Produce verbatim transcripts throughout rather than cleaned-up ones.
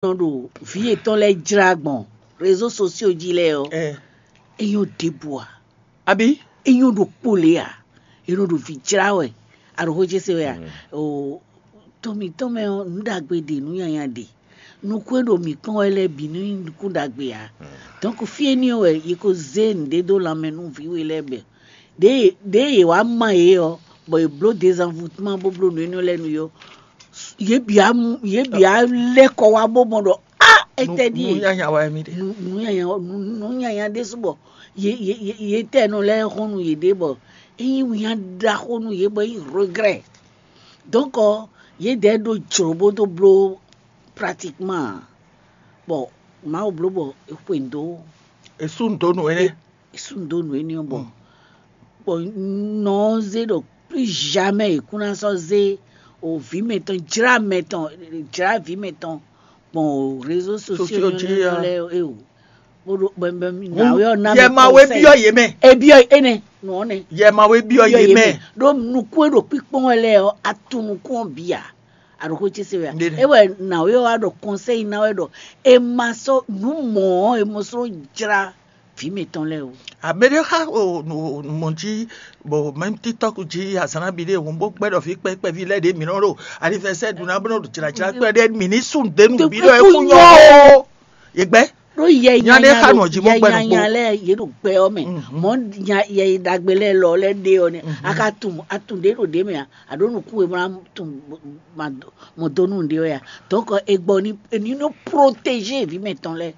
nɔ ɖo vǐ yětɔn lɛ́ɛ jlá gbɔn réseaux sociaux jí lɛ́ɛ ɔ́, ɛ é nyɔ́ ɖěbǔ ǎ. Abi. É nyɔ́ ɖokpó lě ǎ. É nɔ ɖo vǐ jlá wɛ. Aɖo xó ce se wɛ a? O to mǐtɔn mɛ ɔ́, nǔ ɖagbe ɖe, nǔ nyanya ɖe. Nukún e ɖo mǐ kpɔ́n wɛ lɛ́ɛ bǐ nú nyí nukún ɖagbe ǎ. Donc fí éní ɔ́ wɛ yě ko zé nǔɖé dó lanmɛ nú vǐ we lɛ́ɛ bɛ. Ɖěe ɖěe yě wá ma yě ɔ́, bɔ yě bló dézanvutmá bó bló nǔ énɛ́ lɛ́ɛ nú yě ɔ́, yě bǐ á mú yě bǐ á lɛ́ kɔ wá bó mɔ ɖɔ á étɛ́ ɖíe Nú nyanya wɛ mì ɖe. nǔ nǔ nyanya nǔ nǔ nyanya ɖésú bɔ yě yě yě yě tɛ nɔ lɛ́ɛ xɔ́n nú yěɖée bɔ é nyí wǐnya ɖaxó nú yě bɔ é nyí regret. Donc yědɛɛ ɖó jlǒ bó dó bló pratiquement bɔ Mawu bló bɔ é xwe nǔ dó Esu ndo nu ene. Sú nǔ dó nǔ énɛ́ ɔ́ bɔ bɔ nɔ ɔ́ zé ɖɔ plus jamais è kún ná sɔ́ zé o vǐ mɛtɔn jlá mɛtɔn jlá vǐ mɛtɔn gbɔn o réseaux sociaux Sociaux jí, nyɔ́nyɔ́nyɔ́ ah. Lɛ́ɛ ɔ́ é o bó ɖo bɛnbɛn nǎwe ɔ́ ná Yɛ ma wé biɔ yé mɛ. Ebiɔ énɛ́ nɔ ɔ́ nɛ Yɛ ma wé biɔ yé mɛ. Ɖó nukún e ɖo kpíkpɔ́n wɛ lɛ́ɛ ɔ́ atu nukún ɔ́ bǐ ǎ. Aɖǒxó ce se wɛ a? Ndé nɛ. É wɛ nǎwe ɔ́ wá ɖɔ kɔnsɛ́yi ná wɛ ɖɔ è ma sɔ́ nǔ mɔ̌ ɔ́ è mɔ sɔ́ jlá vǐ mǐtɔn lɛ́ɛ o. Ameɖe xa o mɔ jí bo mɛm TikTok jí azǎn bi ɖe hɔn bó gbɛ ɖɔ fi kpɛkpɛ vi lɛ ɖe mǐ nɔ ɖo anivɛsɛ ɖu na bó nɔ ɖo jlajla kpɛ ɖe mǐ ní sun de nu bi ɖɔ eku nyɔ o. Yegbe. Ɖó yɛ Nya ɖe xa nɔ jí mɔ gbɛ nɔ nyanya lɛ yě ɖo gbɛ ɔ́ mɛ. Mhm. Mɔ nya yɛ yi ɖagbe lɛ lɔ lɛ ɖe ɔ́ nɛ. Aka tun atun ɖe ɖo ɖe mɛ a? Aɖo nukun e mla tun mɔ donu ɖe ɔ́ ya. Donc e gbɔ ni ni nɔ protéger vi mɛtɔn lɛ.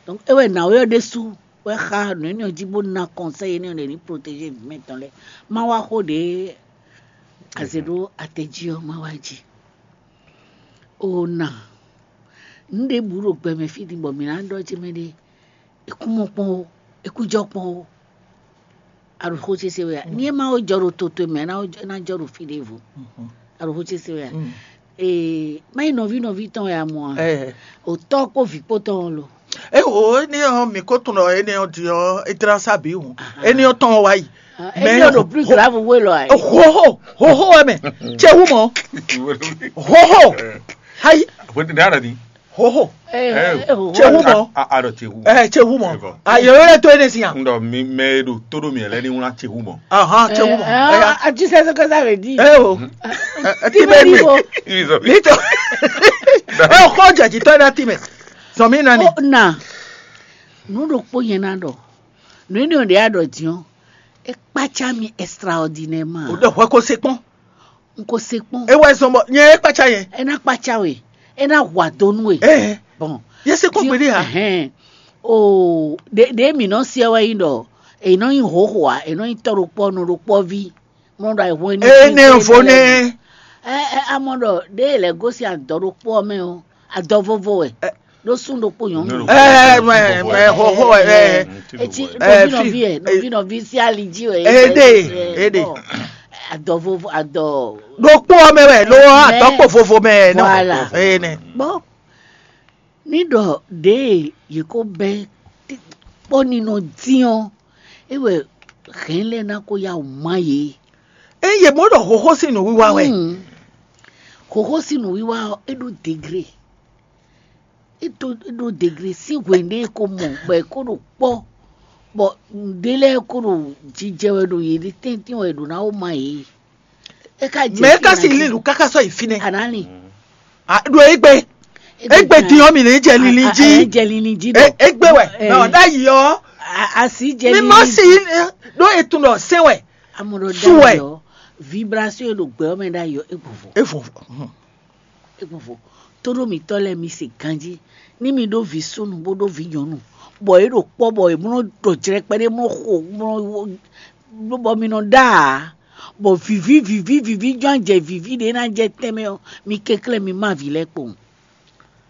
Donc e wɛ na yɔ ɖe su wɛ xa nɔ enɛ ɔ́ jí bó na conseil enɛ ɔ́ ɖe ni protéger vi mɛtɔn lɛ. Ma wa xo ɖe aze ɖo atɛ jí ɔ́ ma wa jí. O na nu ɖe bu ɖo gbɛmɛ fí din bɔ mǐ ná ɖɔ ce mɛ ɖe. Ekú mɔ kpɔn o, ekú jɔ kpɔn o. Aɖo xó ce se wɛ a? Ní e ma wo jɔ ɖo toto mɛ ná wo jɔ- ná jɔ ɖo fí ɖěvo. Aɖo xó ce se wɛ a? Ee, má nyí nɔví nɔví tɔn wɛ a mɔ a? Ɛ O tɔ́ kpó vǐ kpó tɔn lo. E o ene ɔ mi ko tun ɖɔ ene ɔ di ɔ e dra sa bi wu. Ene ɔ tɔn wa yi. Ene ɔ ɖo plus grave wé lɔ ayi. Hoho hoho wɛ mɛ. Tse wu mɔ. Hoho. Hayi. Bó ti dára ni. Hoho. Ee, Eh, ee, o- Tse wu mɔ. A a ɖɔ tse wu. Ɛ tse wu mɔ. Ego. Ayɔ yɛ to ene si yan. N ɖɔ mi mɛ e ɖo tó ɖo mi lɛ ni wla tse wu mɔ. Ahan tse wu mɔ. Ɛya. Ah, tu sais ce que ça veut dire? Ɛ o. Ɛ ti bɛ mi. Ibi sɔ mi. Nito. Ɛ o kɔ jɛ jitɔ na ti mɛ. Sɔmi nani. O na nu ɖokpó nyɛ na ɖɔ nu ene ɔ́ ɖe aɖɔ diɔ e kpatsa mi extraordinairement. O ɖe hwɛ ko se kpɔn. N ko se kpɔn. E wɛ zɔn bɔ nyɛ e kpatsa yɛ. E na kpatsa we, e na hwa do nu we. Ɛɛ. Bon. Yɛ se kpɔn gbeɖe ha. Ɛhɛn. O ɖe ɖe mi nɔ se wɛ yi ɖɔ e nɔ nyi hoho a e nɔ nyi tɔ ɖokpɔ nɔ ɖokpɔ vi mɔ ɖo ayihɔn Ee ne vo ne. Ɛ ɛ amɔ ɖɔ ɖe lɛ gosi adɔ ɖokpɔ mɛ o adɔ vovo wɛ ɖo sun ɖokpɔ nyɔnu. Ɛɛ mɛ mɛ hoho ɛ. Eti Ɛ, nɔvi fi- nɔvi ɛ nɔvi nɔvi si ali ji wɛ. Ede, ede. Adɔ vovo adɔ. Ɖokpɔ mɛ wɛ lo Mɛ- atɔkpɔ vovo mɛ nɔ. Voilà. Ee ne. Bon. Ní ɖɔ ɖěe yě kó bɛ́ kpɔ́ ninɔ dín ɔ́, é wɛ hɛ̌n lɛ́ɛ ná kó yá wǔ má yě. Eye mɔ ɖɔ hoho sín nǔwiwa wɛ. Hmm. Xoxo sín nǔwiwa ɔ́, é ɖó degré. É ɖó é ɖó degré sín hwenu ɖé é ko mɔ bɔ é ko ɖo kpɔ́ bɔ nǔɖé lɛ́ɛ ko ɖo jijɛ wɛ ɖo yě ɖi tɛ́ntin wɛ è ɖǒ ná wó má yě. É ka jɛ Mɛ é ka fí si ná lin jí. Nǔ káká sɔ́ yi fínɛ́. Anani. Ɖo egbe. Egbe din ɔ́ mi ní jɛ lili jí. Jɛ lili jí E- dɔ. Egbe wɛ. Eh. Mɛ ɔ́ ɖ'ayǐ ɔ́. Asi jɛ Mi lili ma jí. si ɖó etun ɖɔ sɛn wɛ. Amɔ ɖɔ Su wɛ. Dayɔ. Vibration e ɖo gbɛ ɔ́ mɛ ɖ'ayǐ ɔ́, é gbɔn vɔ. Evo. Egbɔnvo. Tóɖó mǐtɔn lɛ́ɛ mi se ganjí ní mi ɖó vǐ súnnu bó ɖó vǐ nyɔ̌nu, bɔ é ɖo kpɔ́ bɔ è mlɔ́ ɖɔ jlɛ́ kpɛɖé mlɔ́ xo mlɔ́ bɔ mi nɔ ɖá ǎ, bɔ vǐví vǐví vǐví jɔ́n jɛ vǐví ɖě ná jɛ tɛnmɛ ɔ́, mi kɛnklɛ́n mi má vǐ lɛ́ɛ kpowun.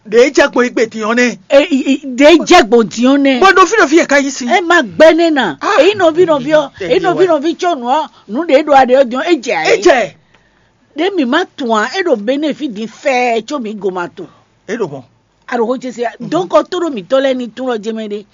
Ɖe é jɛ gbɔn igbe din ɔ́ nɛ. Ɖě jɛ gbɔn din ɔ́ nɛ. Bɔ ɖo fí ɖo fí yɛ ka yí si. Ɛ ma gbɛ nɛ na. Ah. Èyí nɔví nɔví ɔ, Tɛ̀lé èyí nɔví wɛ. Nɔví tsɔ nù ɔ, nù ɖě ɖo aɖě ɔ́ din ɔ́, é jɛ E ayé. jɛ. Ɖě mi ma tun a, é ɖo bénéfice din fɛɛ tso mi go ma tun. E ɖo mɔ. Aɖo xó ce se ya. Donc ɔ tóɖó mǐtɔn lɛ́ɛ ní tún ɔ́ jɛ mɛ ɖé.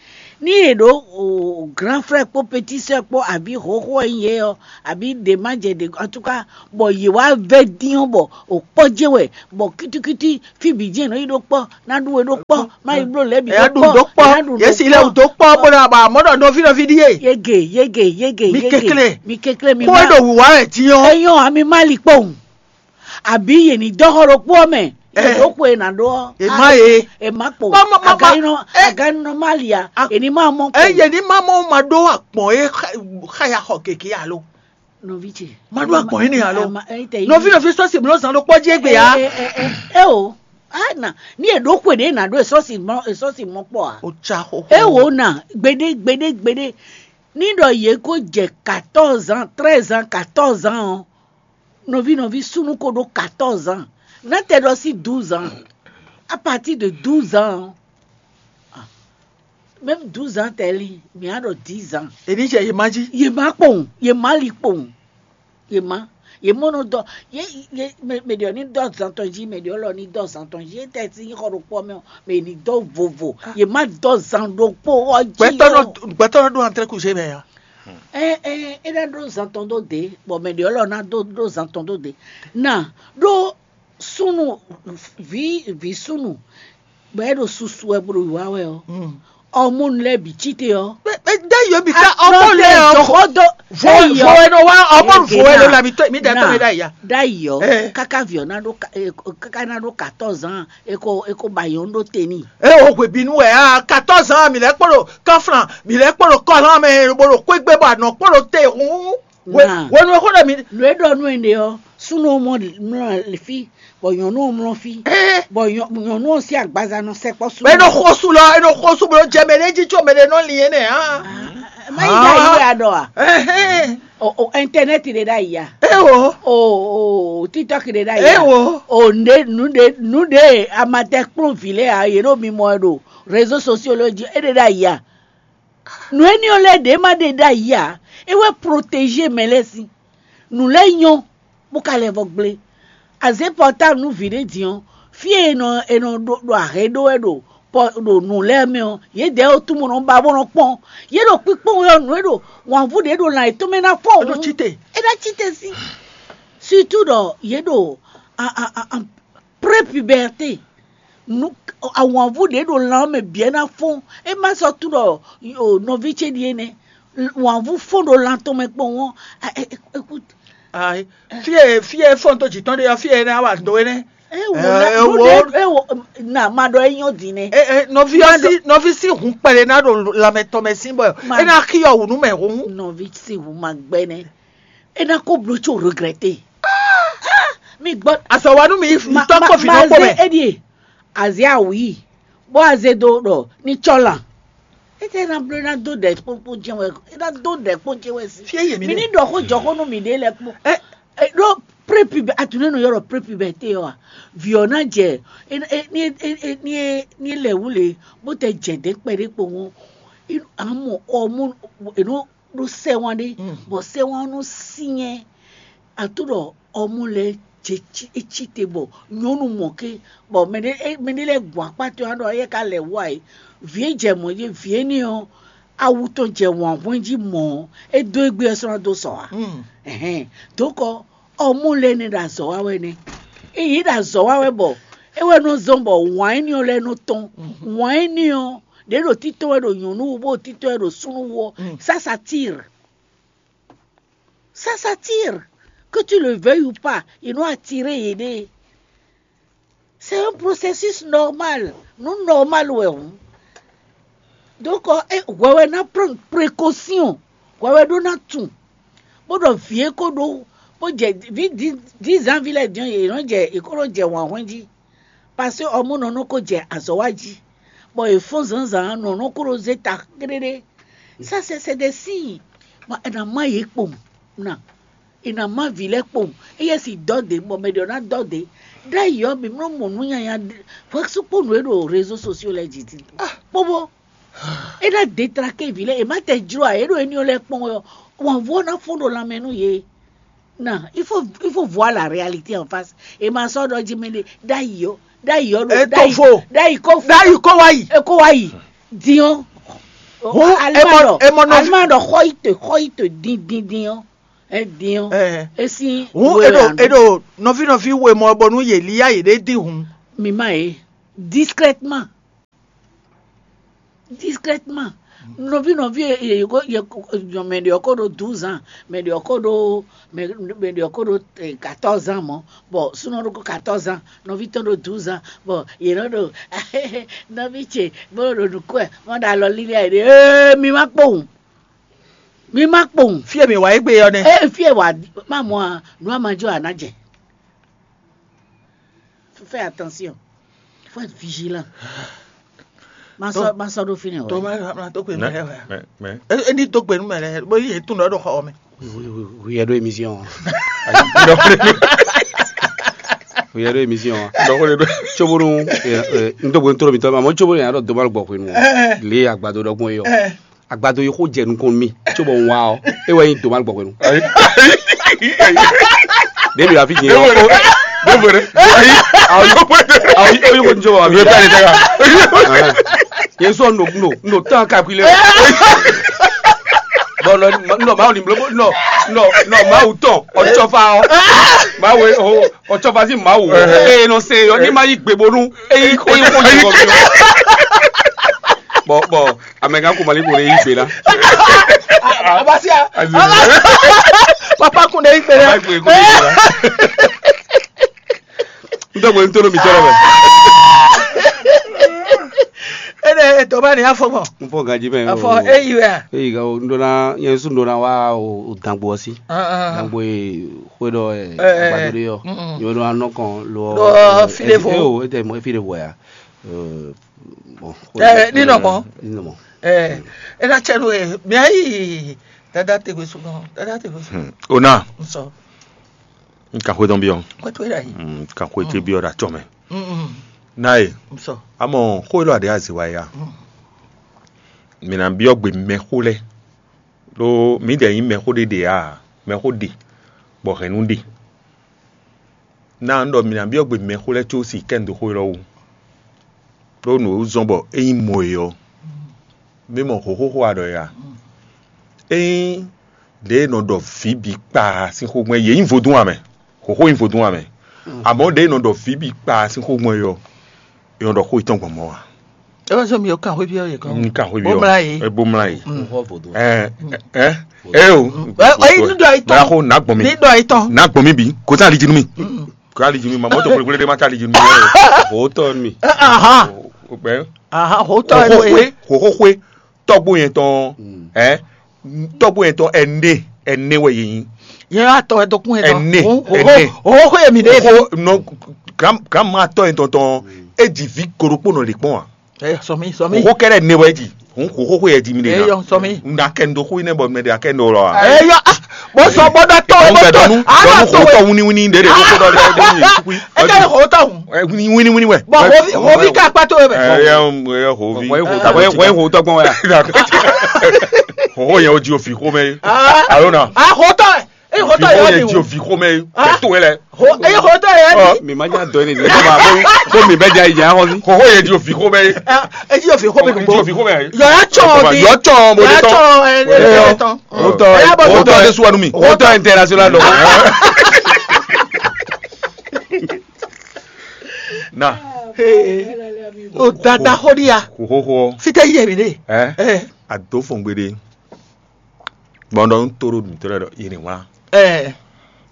Ní è ɖǒ o grand frère kpó petit sœur kpó abǐ hǒxo e nyí yě ɔ́, abǐ ɖě ma jɛ ɖě, en tout cas, bɔ yě wá vɛ́ dín ɔ́, bɔ o kpɔ́ jɛ́n wɛ, bɔ kítíkítí fí bǐ jɛ́n è nɔ yi ɖó kpɔ́, ná ɖu we ɖó kpɔ́, má yi bló lɛ̌ bǐ Ɛ ɖu ɖó kpɔ́, ɛ ɖu ɖó kpɔ́. Yě si lɛ ɖó kpɔ́ bó ɖo aba mɔ̌ ɖɔ nɔví nɔví ɖíe. Yege, yege, yege, Mi yege. Kekle. Mi kekle, mi Kó má. E ɖo wǔwá wɛ din ɔ́. Eyɔn ami má li kpɔ́n. Àbí yě ní dɔ́ xɔ ɖokpó ɔ́ mɛ? Yě Ɛ. Ɖó xwe è nǎ ɖó ɔ́. È má yě. È má kpo. Má, má, má, má. Aganɔ Ɛ. Aganɔ má li a? A. È ní má mɔ kpo. Eye ní má mɔ ma ɖó agbɔn e xa- xa ya xɔ keke alo. Nɔví ce. Ma ɖó agbɔn énɛ́ alo. Nɔví nɔví sɔ́ si bló zan ɖokpó jí égbé ya. Ɛ o. Ana ní è ɖó xwe ɖě è nǎ ɖó è sɔ́ si mɔ è sɔ́ si mɔ kpɔ a? O tsa xo. E wò na gbeɖé gbeɖé gbeɖé. Ní ɖɔ yě kó jɛ quatorze ans, treize ans, quatorze ans ɔ́, nɔví nɔví súnnu ko ɖó quatorze ans. Nátɛ ɖɔ sí douze ans. À partir de douze ans ɔ́, ah, même douze ans tɛli, mǐ á ɖɔ dix ans. Èmi jɛ yě má jí. Yě má kpowun, yě má li kpowun. Yě má, yě mɔ nɔ dɔ, yě yě mɛ mɛ ɖě ɔ́ ní dɔ zan tɔn jí, mɛ ɖě ɔ́ lɔ ní dɔ zan tɔn jí. Étɛ́ sín xɔ ɖokpó ɔ́ mɛ ɔ́, mɛ ní dɔ vovo. Yě má dɔ zan ɖokpó ɔ́ jí. Gbɛtɔ́ nɔ gbɛtɔ́ nɔ ɖó antrɛ́ kuzé mɛ ya. Ɛ ɛ é ná ɖó zan tɔn dó dě, bɔ mɛ ɖě ɔ́ lɔ ná dó ɖó zan tɔn dó dě. Na ɖó súnnu vǐ vǐ súnnu bɔ é ɖo susu wɛ bó ɖo wǐwá wɛ ɔ́, ɔmɔnu lɛ́ɛ bǐ cí te ɔ́. Mɛ dá yɔ mi ká ọmọ lẹ ọ. Dɔxɔ dó Vo vo ẹ nɔ wá ọmọ vo ẹ lọ làbí tó mi dá tó mi dá ìyá. Dá yɔ Eh. Káká viɔ ná ɖó ka- eh, káká ná ɖó quatorze ans eko eko bayɔ ɖó teni. E o hwe bínú ɛ a quatorze ans mi lɛ kpɔɖo kɔflan mi lɛ kpɔɖo kɔlan mɛ bolo kpégbé bɔ anɔ kpɔɖo te hun. Wenu e xo ɖe mi. Lo e ɖɔ nú ene ɔ súnú mɔ mlɔ fi bɔ nyɔnu mlɔ fi. Bɔ nyɔnu ɔ sí agbaza nɔ sɛkpɔ súnú. Eno xosu lɔ eno xosu bolo jɛ mɛ ɖe jí tso mɛ ɖe nɔ li ene hã. Má yi ɖe ayi wɛ aɖɔ a? O o internet ɖe ɖe ayi ya? Ewo. O o tiktok ɖe ɖe ayi ya? Ewo. O nɖe nu ɖe nu ɖe amatɛ kplɔn vi lɛ a yě ɖo mi mɔ ɛ ɖo réseaux sociaux lɔ jí e ɖe ɖe ayi ya? Nǔ énɛ́ ɔ́ lɛ́ɛ ɖě ma ɖe ɖ'ayǐ ǎ; é wɛ proteže mɛ lɛ́ɛ sín. Nǔ lɛ́ɛ nyɔ́, bó ka lɛ́ vɔ gblé. A zě pɔtáblu nú vǐ ɖé din ɔ́, fí e è nɔ è nɔ ɖo ɖo ahɛ ɖó wɛ ɖo pɔ ɖo nǔ lɛ́ɛ mɛ ɔ́, yědɛɛ ɔ́ tunwun nɔ ba bó nɔ kpɔ́n. Yě ɖo kpíkpɔ́n wɛ ɔ́, nǔ e ɖo wǎnvú ɖě ɖo lan yětɔn mɛ ná fɔ. É ɖo cí te. É ná cí te sín. Surtout ɖɔ yě ɖo a a a a pré-puberté. Nú awǎnvú ɖě ɖo lan ɔ́ mɛ bǐ ɛ ná fɔ́n. É má sɔ́ tunwun ɖɔ o nɔví ce ɖíe nɛ́. Wǎnvú fɔ́n ɖo lan tɔn mɛ kpɔ́n ɔ́. Écoute. Ayi, fí e fí e fɔ́n tó jǐ tɔn ɖe ɔ́, fí e é ná wa do é nɛ́. Ewò Eh, na ewò. Nuɖe ewò na ma ɖɔ é nyɔ́ din nɛ. Eh, eh, nɔví ɔ́ sí nɔví sí hun kpɛɖé ná ɖo lanmɛ tɔn mɛ sín bɔ Ma- é ná xí ɔwǔ nú mɛ hun. Nɔví sí hun ma gbɛ nɛ. É ná kó bló tso regretter. Mi gbɔ Azɔ̌ wa nú mi yi tɔ́ kpó vǐ nɔ kpó mɛ. Eɖie azé awu yi bó azé do ɖɔ ní tsɔ lan. Ete ná bló ná dó ɖɛ kpókpó jɛn wɛ é ná dó ɖɛ kpó jɛn wɛ sí. Fie yé mi Mi ní ɖe. Ɖɔ xó jɔ xó nú mi ɖé lɛ kpó. Ɛ. Ɖó prépubɛ atunɛ nɔ yɔrɔ prépubɛ te ɔ a? Vǐ ɔ́ ná jɛ ní ní lɛ wú le bó tɛ jɛ dɛ̌ kpɛɖé kpowun. Amɔ ɔmɔ eno ɖó sɛwan ɖé. Bɔ sɛwan nɔ sinyɛ ato ɖɔ ɔmɔ lɛ jɛ é ci te bɔ nyɔnu mɔ ké bɔ mɛɖé mɛɖé lɛ gbɔn akpá tɔn ɖɔ yɛ ka lɛ wá yi. Vǐ e jɛ mɔ yé vǐ énɛ́ ɔ́ awu tɔn jɛ wǎn hwɛ́n jí mɔ ɔ́ é dó égbé ɔ́ sɔ́ ná dó sɔ ǎ. Ɛhɛn. Dokɔ ɔmɔ lɛ nɛ ɖo azɔ̌ wa wɛ nɛ. Eye ɖo azɔ̌ wa wɛ bɔ é wɛ nɔ zɔn bɔ wǎn énɛ́ ɔ́ lɛ nɔ tɔn. Wǎn énɛ́ ɔ́ ɖě ɖo títɔn wɛ ɖo nyɔ̌nu wú bó ɖo títɔn wɛ ɖo súnnu wú ɔ́. Ça s'attire. Ça s'attire. Que tu le veuilles ou pas, ils vont attirer yéɖée. C'est un processus normal. Nous normal ouais. Donc hwɛwɛ ná prendre précaution. Hwɛwɛ ɖó ná tun. Bó ɖɔ vǐ e kó ɖó bó jɛ vǐ dix ans vi lɛ diɔn yě nɔ jɛ yě kó ɖó jɛ wǎn hwɛ́n jí. Parce que ɔmɔ nɔ nɔ kó jɛ azɔ̌ wa jí. Bɔ è fɔ́n zǎnzǎn nɔ nɔ kó ɖó zé ta kréɖé. Ça c'est c'est des signes. Bɔ è nǎ má yě kpowun ná. È nǎ má vǐ lɛ́ɛ kpowun. Éyɛ́ si dɔ́ dě bɔ mɛ ɖě ɔ́ ná dɔ́ dě. Ɖ'ayǐ ɔ́, mǐ mlɔ́ mɔ nǔ nyanya hwɛsúkpónú e ɖo réseaux sociaux lɛ́ɛ jí din. Kpóbó é ná détraqué vǐ lɛ́ɛ, è má tɛ jló ǎ, é ɖo éní ɔ́ lɛ́ɛ kpɔ́n wɛ ɔ́, wǎnvú ɔ́ ná fɔ́n ɖo lanmɛ nú yě. Non, il faut il faut voir la réalité en face. È ma sɔ́ ɖɔ jí mɛ ɖé ɖ'ayǐ ɔ́, ɖ'ayǐ ɔ́ ɖo Ètò fo. Ɖ'ayǐ kó fo. Ɖ'ayǐ kó wá yìí. É kó wá yìí. Din ɔ́. Hǔn, Alima ɖɔ, Alima ɖɔ xɔ yi te, xɔ yi te dín dín dín ɔ́, é dín ɔ́, é sín hǔn, we e ɖo, wɛ ǎ. E ɖo nɔví nɔví we mɔ bɔ nú yě líyá yě ɖé dín hǔn. Mi ma yě, discrètement. Discrètement. Nɔví nɔví e, e, e, e, mɛ ɖě ɔ́ ko ɖo douze ans, mɛ ɖě ɔ́ ko ɖo, mɛ, mɛ ɖě ɔ́ ko ɖo, eh, quatorze ans mɔ̌, bɔ súnɔ ɖokpó quatorze ans, nɔví tɔn ɖo douze ans, bɔ yě nɔ ɖo nɔví ce bó ɖo nǔ kɔ ɛ, mɔ ɖo alɔ lílí ayǐ ɖe, ee, mi ma kpowun, mi ma kpowun. Fí e mǐ wá égbé ɔ́ nɛ́. Ee, fí e wà má mɔ a, nǔ a ma jó a nǎ jɛ. Fais attention. Faut être vigilant. Ma sɔ, ma sɔ ɖo fínɛ́. Tó wɛ. Ma ma tó gbe nú mɛ lɛ́ɛ wɛ. Mɛ mɛ. E e ní tó gbe nú mɛ lɛ́ɛ bó yí yě tún ɖɔ ɖo xɔ mɛ. Who hear the émission? Who hear the émission? Cóbónú n tó gbe n tó mi tọ́ ma mɔ cóbónú yàrá dɔ̀dọ̀ ma gbɔ hwenu. Lé àgbàdo dɔgbɔn yɔ. Agbado yi xó jɛ nukɔn nú mì, cóbɔ un wá ɔ́, é wɛ nyí Domal gbɔhwenu. Ɖěbǐ la fi nyɛ ɔ́. Ɖěbǔ ɖe. Ayi. Ayi, ó yí xó ní cóbɔ wá mi. Yé sɔ no no no tán kakui lé. Bɔn nɔ nɔ Mawu ní bló nɔ nɔ nɔ Mawu tɔn ɔtsɔfa ɔ́. Mawu ɔtsɔfa sí Mawu. Eye nɔ se yɔ ní ma yí gbe bónú. Eyi xó ní xó jɛ kɔ mi. Bɔn bɔn. Amɛgan ko mali ko ɖe yí gbe ná. Abasia. Papa kun ɖe yí gbe ná. N tɔgbe n tɔnɔ mi tɔrɔ mɛ. Ene etɔ ba ni afɔ gbɔn. N fɔ ganji mɛ. Afɔ eyi wɛ. Eyi ga o n dona yɛn su n dona wa o dangbo ɔsi. Dangbo ye xwe dɔ ɛ agbado de yɔ. Yɔ dɔ anɔ kɔn lɔ. Dɔ fi de fo. Eo ete mo fi de fo ya. Bon, ɛ ní nɔ mɔ. Ní nɔ mɔ. Ɛ ɛ ná tsɛ nú ɛ mía yi dada tegbe sukɔ dada tegbe sukɔ. Ona. Nsɔ. N ka xwe dɔn biɔ. Kɔtɔ yɛ yi. N ka xwe te biɔ da tsɔ mɛ. Na ye. Nsɔ. Amɔ xwe lɔ ade azi wa ya. Mi na biɔ gbe mɛ xo lɛ. Lo mi dɛ yin mɛ xo de de a mɛ xo de bɔ hɛn nu de. Ná un ɖɔ mi ná byɔ́ gbe mɛxó lɛ́ɛ có si kɛ́n dó xó élɔ́ wú, ɖó nǔ e wú zɔ́n bɔ é nyí mɔ e ɔ́, mi mɔ xǒxó xó a ɖɔ é a? Ényí ɖěe nɔ ɖɔ vǐ bǐ kpaa sín xó gbɔn é, yě nyí vodún ǎ mɛ, xǒxó nyí vodún ǎ mɛ, amɔ̌ ɖěe nɔ ɖɔ vǐ bǐ kpaa sín xó gbɔn é ɔ́, é nɔ ɖɔ xó yětɔn gbɔn mɔ̌ ǎ. É wá sɔ mi ò kan xwé byɔ́ yě kɔn. Un kan xwé byɔ́. Bó mlá yìí. É bó mlá yìí. Ɛ ɛ ɛ o. Ɛ ɛ ní dɔ yìí tɔn. Báyà kó nà gbɔn mi. Ní dɔ yìí tɔn. Nà gbɔn mi bi. Kò tá àlejò mi. Kò tá àlejò mi. Màmá tó kúlekúle dé má tá àlejò mi. Hó tɔ mi. Ahan. Hó tɔ ẹ. Hó xwe. Hó xwe. Tɔgbo yẹn tɔn. Ɛ tɔgbo yẹn tɔn ɛnɛ ɛnɛ wɛ yìí. Yẹn yà tɔ ẹ tó kún yẹn tɔn. Ɛnɛ ɛnɛ. Hó xwe mi dé. Hó nɔ. Granma tɔ yẹn tɔn tɔn. E jì vi koɖokpo nɔ lè kpɔn wa. Ɛ sɔmi sɔmi. Xó kɛɖɛ ne wɛ dzi. Hun xó xó yɛ dzi mi de na. Eyɔ sɔmi. N da kɛ n do xó yi ne bɔ mɛ de akɛ n do lɔ wa. Eyɔ ah bó sɔ bó dɔ tɔ bó tɔ dɔnu ah dɔnu dɔ xó tɔ wɛ. Wini wini de de xó dɔ de de yi tukui. E ka xó tɔ hun. Wini wini wɛ. Bɔn hovi hovi ka kpa to bɛ. Ɛ yɛ yɛ hovi. Wɛ xó tɔ gbɔn wɛ. Xó xó yɛ o di o fi xó mɛ. Alo na. Ah xó tɔ. Eye xɔtɔ yɛ mi. Fi xomɛ to yɛ lɛ. Eye xɔtɔ yɛ mi. Mi ma nya dɔ ne mi ma ko mi bɛ ja yi ja xɔ si. Xɔxɔ yɛ di o fi xomɛ. Eji o fi xomɛ ko. Eji o fi xomɛ. Yɔ ya tsɔ bi. Yɔ tsɔ bo de tɔn. Yɔ tsɔ ɛ ɛ tɔn. O tɔ o tɔ de suwa nu mi. O tɔ international lɔ. Na. O dada xɔ di ya. Xɔxɔ. Fitɛ yɛ mi de. Ɛ. A do fɔn gbe de. Bɔn ɖɔ un to ɖo nǔtɔ́ lɛ́ɛ ɖɔ yě ní wlán. Ɛɛ,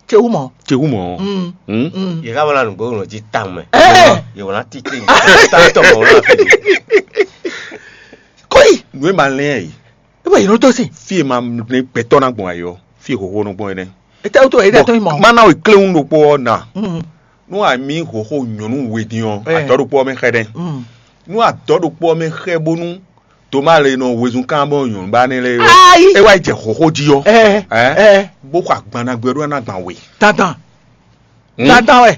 ce wú mɔ. Ce wú mɔ. Mm. Hmm? Mm. Yě ká wlán nǔgbó nɔ jí tawun mɛ. Ɛɛ. Yě wlán títí. Tá tɔ mɔ wlán fi. Kóyi. Nǔ e ma lɛn ɛ yìí. E bɛ yìí nɔ tó si. Fí e ma lɛn gbɛtɔ́ ná gbɔn ayɔ. Fí e xóxó nɔ gbɔn yẹn. E tɛ wútu e tɛ tó yi mɔ. Mana o kléwún ɖokpó ɔ́ na. Mm. Nú a mǐ xóxó nyɔ̌nu we din ɔ́, adɔ̌ ɖokpó ɔ́ mɛ xɛ dɛn. Mm. Nú adɔ̌ ɖokpó ɔ́ mɛ xɛ bónú Toma le nɔ wezun kan bɔ nyɔ̌nu ba ne le. Ayi. E wá jɛ xóxó jí ɔ́. Ɛ ɛ. Bó xɔ agban na gbɛ ɖó ná gban we. Tantan. Hmm? Tantan wɛ.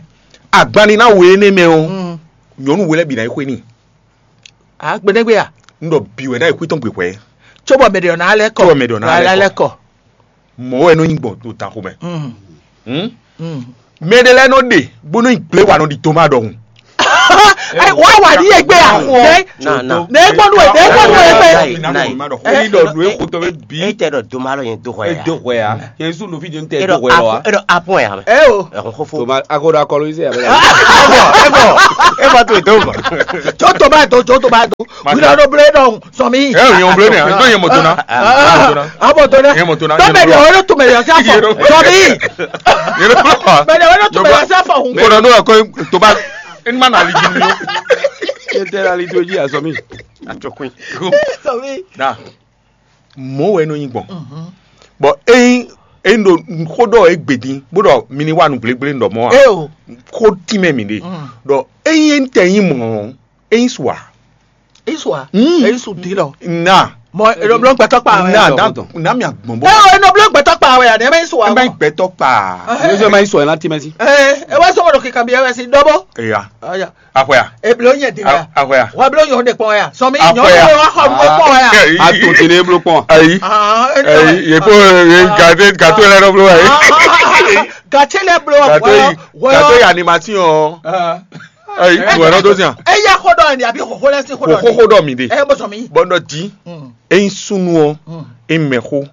Agban ni ná we énɛ́ mɛ ɔ́. Hmm. Nyɔ̌nu we lɛ́ bǐ ná yi xwé n'i. A gbɛdɛgbɛ ya. N ɖɔ bǐ wɛ ná yi xwé tɔn gbe hwɛ. Cóbɔ mɛ ɖe ɔ́ ná lɛ́ kɔ. Cóbɔ mɛ ɖe ɔ́ ná lɛ́ kɔ. Mɔ̌ wɛ nɔ nyí gbɔn ɖo danxo mɛ. Mm. Hmm? Mm. Mɛ ɖé lɛ́ɛ nɔ ɖe bó nɔ nyi gblěwanɔ ɖi Toma ɖɔhun. Ɛ wá wà ní ẹgbẹ́ à. Nɛ nɛ gbɔdú ẹ nɛ gbɔdú ẹ gbẹ. Eyi ɖɔ nu exotɔ bɛ bi. E tɛ ɖɔ doma lɔ yẹn do hɔ ya. Edo hɔ ya. Yesu nu fi jɛn tɛ edo hɔ ya wa. Edo apɔn ya. Ɛ o. Ɛhɔn xofo. Toma akoɖo akɔlɔ yi se ya bɛ. Ebɔ ebɔ ebɔ to edo bɔ. Tso toma edo tso toma edo. Wíwá ɖo blé ɖɔ sɔmi. Ɛ yẹn wòblé nìyà, nítorí yẹn mọ̀ tó ná. Abɔ tó ná. Yẹn mọ̀ tó ná. Bẹ́ẹ̀ ni ọ̀rọ̀ tó mẹ̀yọ̀ sí àfọ̀. Sɔmi. Yẹn ló kọ́. Bẹ́ẹ̀ ni ọ̀rọ̀ tó mẹ̀yọ̀ sí àfọ̀. Kó lọ ní ọkọ tó bá. Ẹni má nà lè jí mi ó. Yẹn tẹ́ lálẹ́ tó jí àsọ mi. Àjọkùn. Sɔmi. Da. Mɔ̌ wɛ nɔ nyi gbɔn. Bɔn eyin eyin ɖo xó ɖɔ e gbedin bó ɖɔ mi ní wa nǔ gblégblé ɖɔ mɔ̌ a. Eo. Xó tínmɛ mi ɖe. Ɖɔ eyin e tɛ nyi mɔ̌. Eyin su a. Isu a? Mm. Eyin su di lɔ. Na. Mɔ eɖɔ blɔ gbɛtɔ kpa wɛ. Na na na mi agbɔn bɔ. Ɛ o eɖɔ blɔ gbɛtɔ kpa wɛ a ne mɛ isu a. Ɛ mɛ gbɛtɔ kpa. Ní sọ ma yín sọ ẹ láti mẹ sí. Ɛ ẹ wá sọmọ ɖo kíkan bí ẹ wẹ sí dɔbɔ. Eya. Aya. Akɔya. Eblo yẹn di ya. Akɔya. Wa blo yẹn o de kpɔn ya. Sɔmi nyɔ Akɔya. Wa xɔ nu kpɔn ya. A to tele blo kpɔn. Ayi. Ah. Ayi. Ye ko ye gate gate lɛ dɔ blo ayi. Gate lɛ blo. Gate yi gate yi animation. Ayi. Wɛ nɔ dó sian. Eya xó ɖɔ ni àbí xóxó lɛ sí xó ɖɔ ni. Xóxó ɖɔ mi de. Ɛ bó sɔ mi. Bɔn ɖɔ di. Eyin súnnu ɔ́, é mɛxó,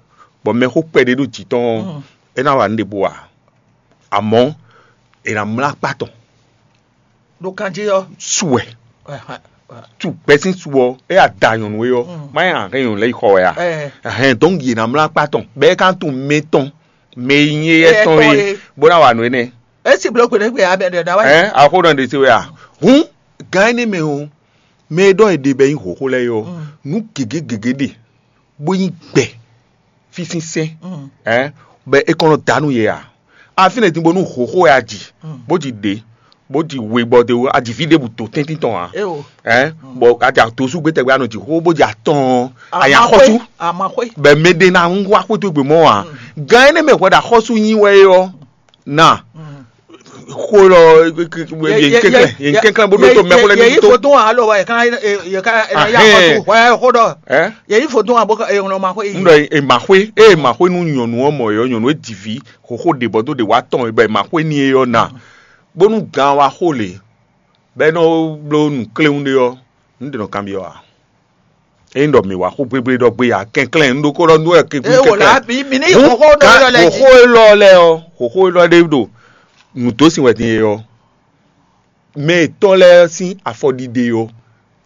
bɔ mɛxó kpɛɖé ɖo jǐ tɔn ɔ́, é ná wa nǔ ɖěbǔ ǎ. Amɔ̌, è nǎ mlá akpá tɔn. Ɖo kanjí ɔ́. Su wɛ. Tu gbɛsín su ɔ́, é ya da nyɔ̌nu é ɔ́, má nyɛ ahɛn nyɔ̌nu lɛ́ɛ yi xɔ wɛ a? Ahɛn dɔn yě ná mlá akpá tɔn, bɔ é ka tunwun mɛ tɔn, mɛ e nyí éyɛ́ tɔn é, bó ná wa nǔ énɛ́. É sì bló gbeɖé gbe abɛ ɖe ɖa wá. Ɛ axó ɖɔ ɖe se wɛ a? Hǔn gan énɛ́ mɛ ɔ́, mɛ e ɖɔ è ɖe bɔ é nyí hǒxo lɛ́ɛ é ɔ́, nǔ gěgé gěgé ɖe bó nyí gbɛ fífínsɛ́n, ɛ bɔ é kɔn nɔ da nú yě ǎ. Afínɛ din bónú hǒxo wɛ a ji, bó ji ɖě, bó ji we bɔ de a ji fí ɖěbǔ tó tɛ́ntin tɔn ǎ. Ɛ bɔ a ja tosú gbé tɛgbɛ a nɔ ji xó bó ji atɔn ɔ́, a nya xɔ́sú. Bɔ mɛ ɖé ná wá xwé towe gbe mɔ̌ ǎ. Gan énɛ́ mɛ hwɛ ɖo axɔ́sú nyi wɛ é ɔ́, na xó lɔ yě kɛnklɛn yě kɛnklɛn bó ɖótó mɛ xó lɛ ní tó. Yèyí fodún wa alo wa yèká yèká yà xɔtú wà yà xó dɔ. Yèyí fodún wa bó ka èyàn ma xó yìí. Ŋɖɔ ema xwé ema xwé nú nyɔ̌nu ɔ́ mɔ yɔ nyɔ̌nu e ji vǐ xoxo ɖe bɔ dó ɖe wá tɔn bɔ ema xwé ní e ɔ́ na bónú gan wa xó lě bɔ é nɔ bló nǔ kléwún ɖé ɔ́, nǔ ɖě nɔ kanbyɔ́ ǎ. Ényí ɖɔ mǐ wá xó gbégbé ɖɔ gbé ǎ, kɛnklɛ́n un ɖokó ɖɔ nú wɛ kɛnklɛ́n. Ée wò lá bí mi ní xóxó nɔ yɔ lɛ jí. Xóxó élɔ́ lɛ́ɛ ɔ́, xóxó élɔ́ ɖé ɖo nǔdósin wɛ din e ɔ́, mɛ yětɔn lɛ́ɛ sín afɔɖiɖe ɔ́,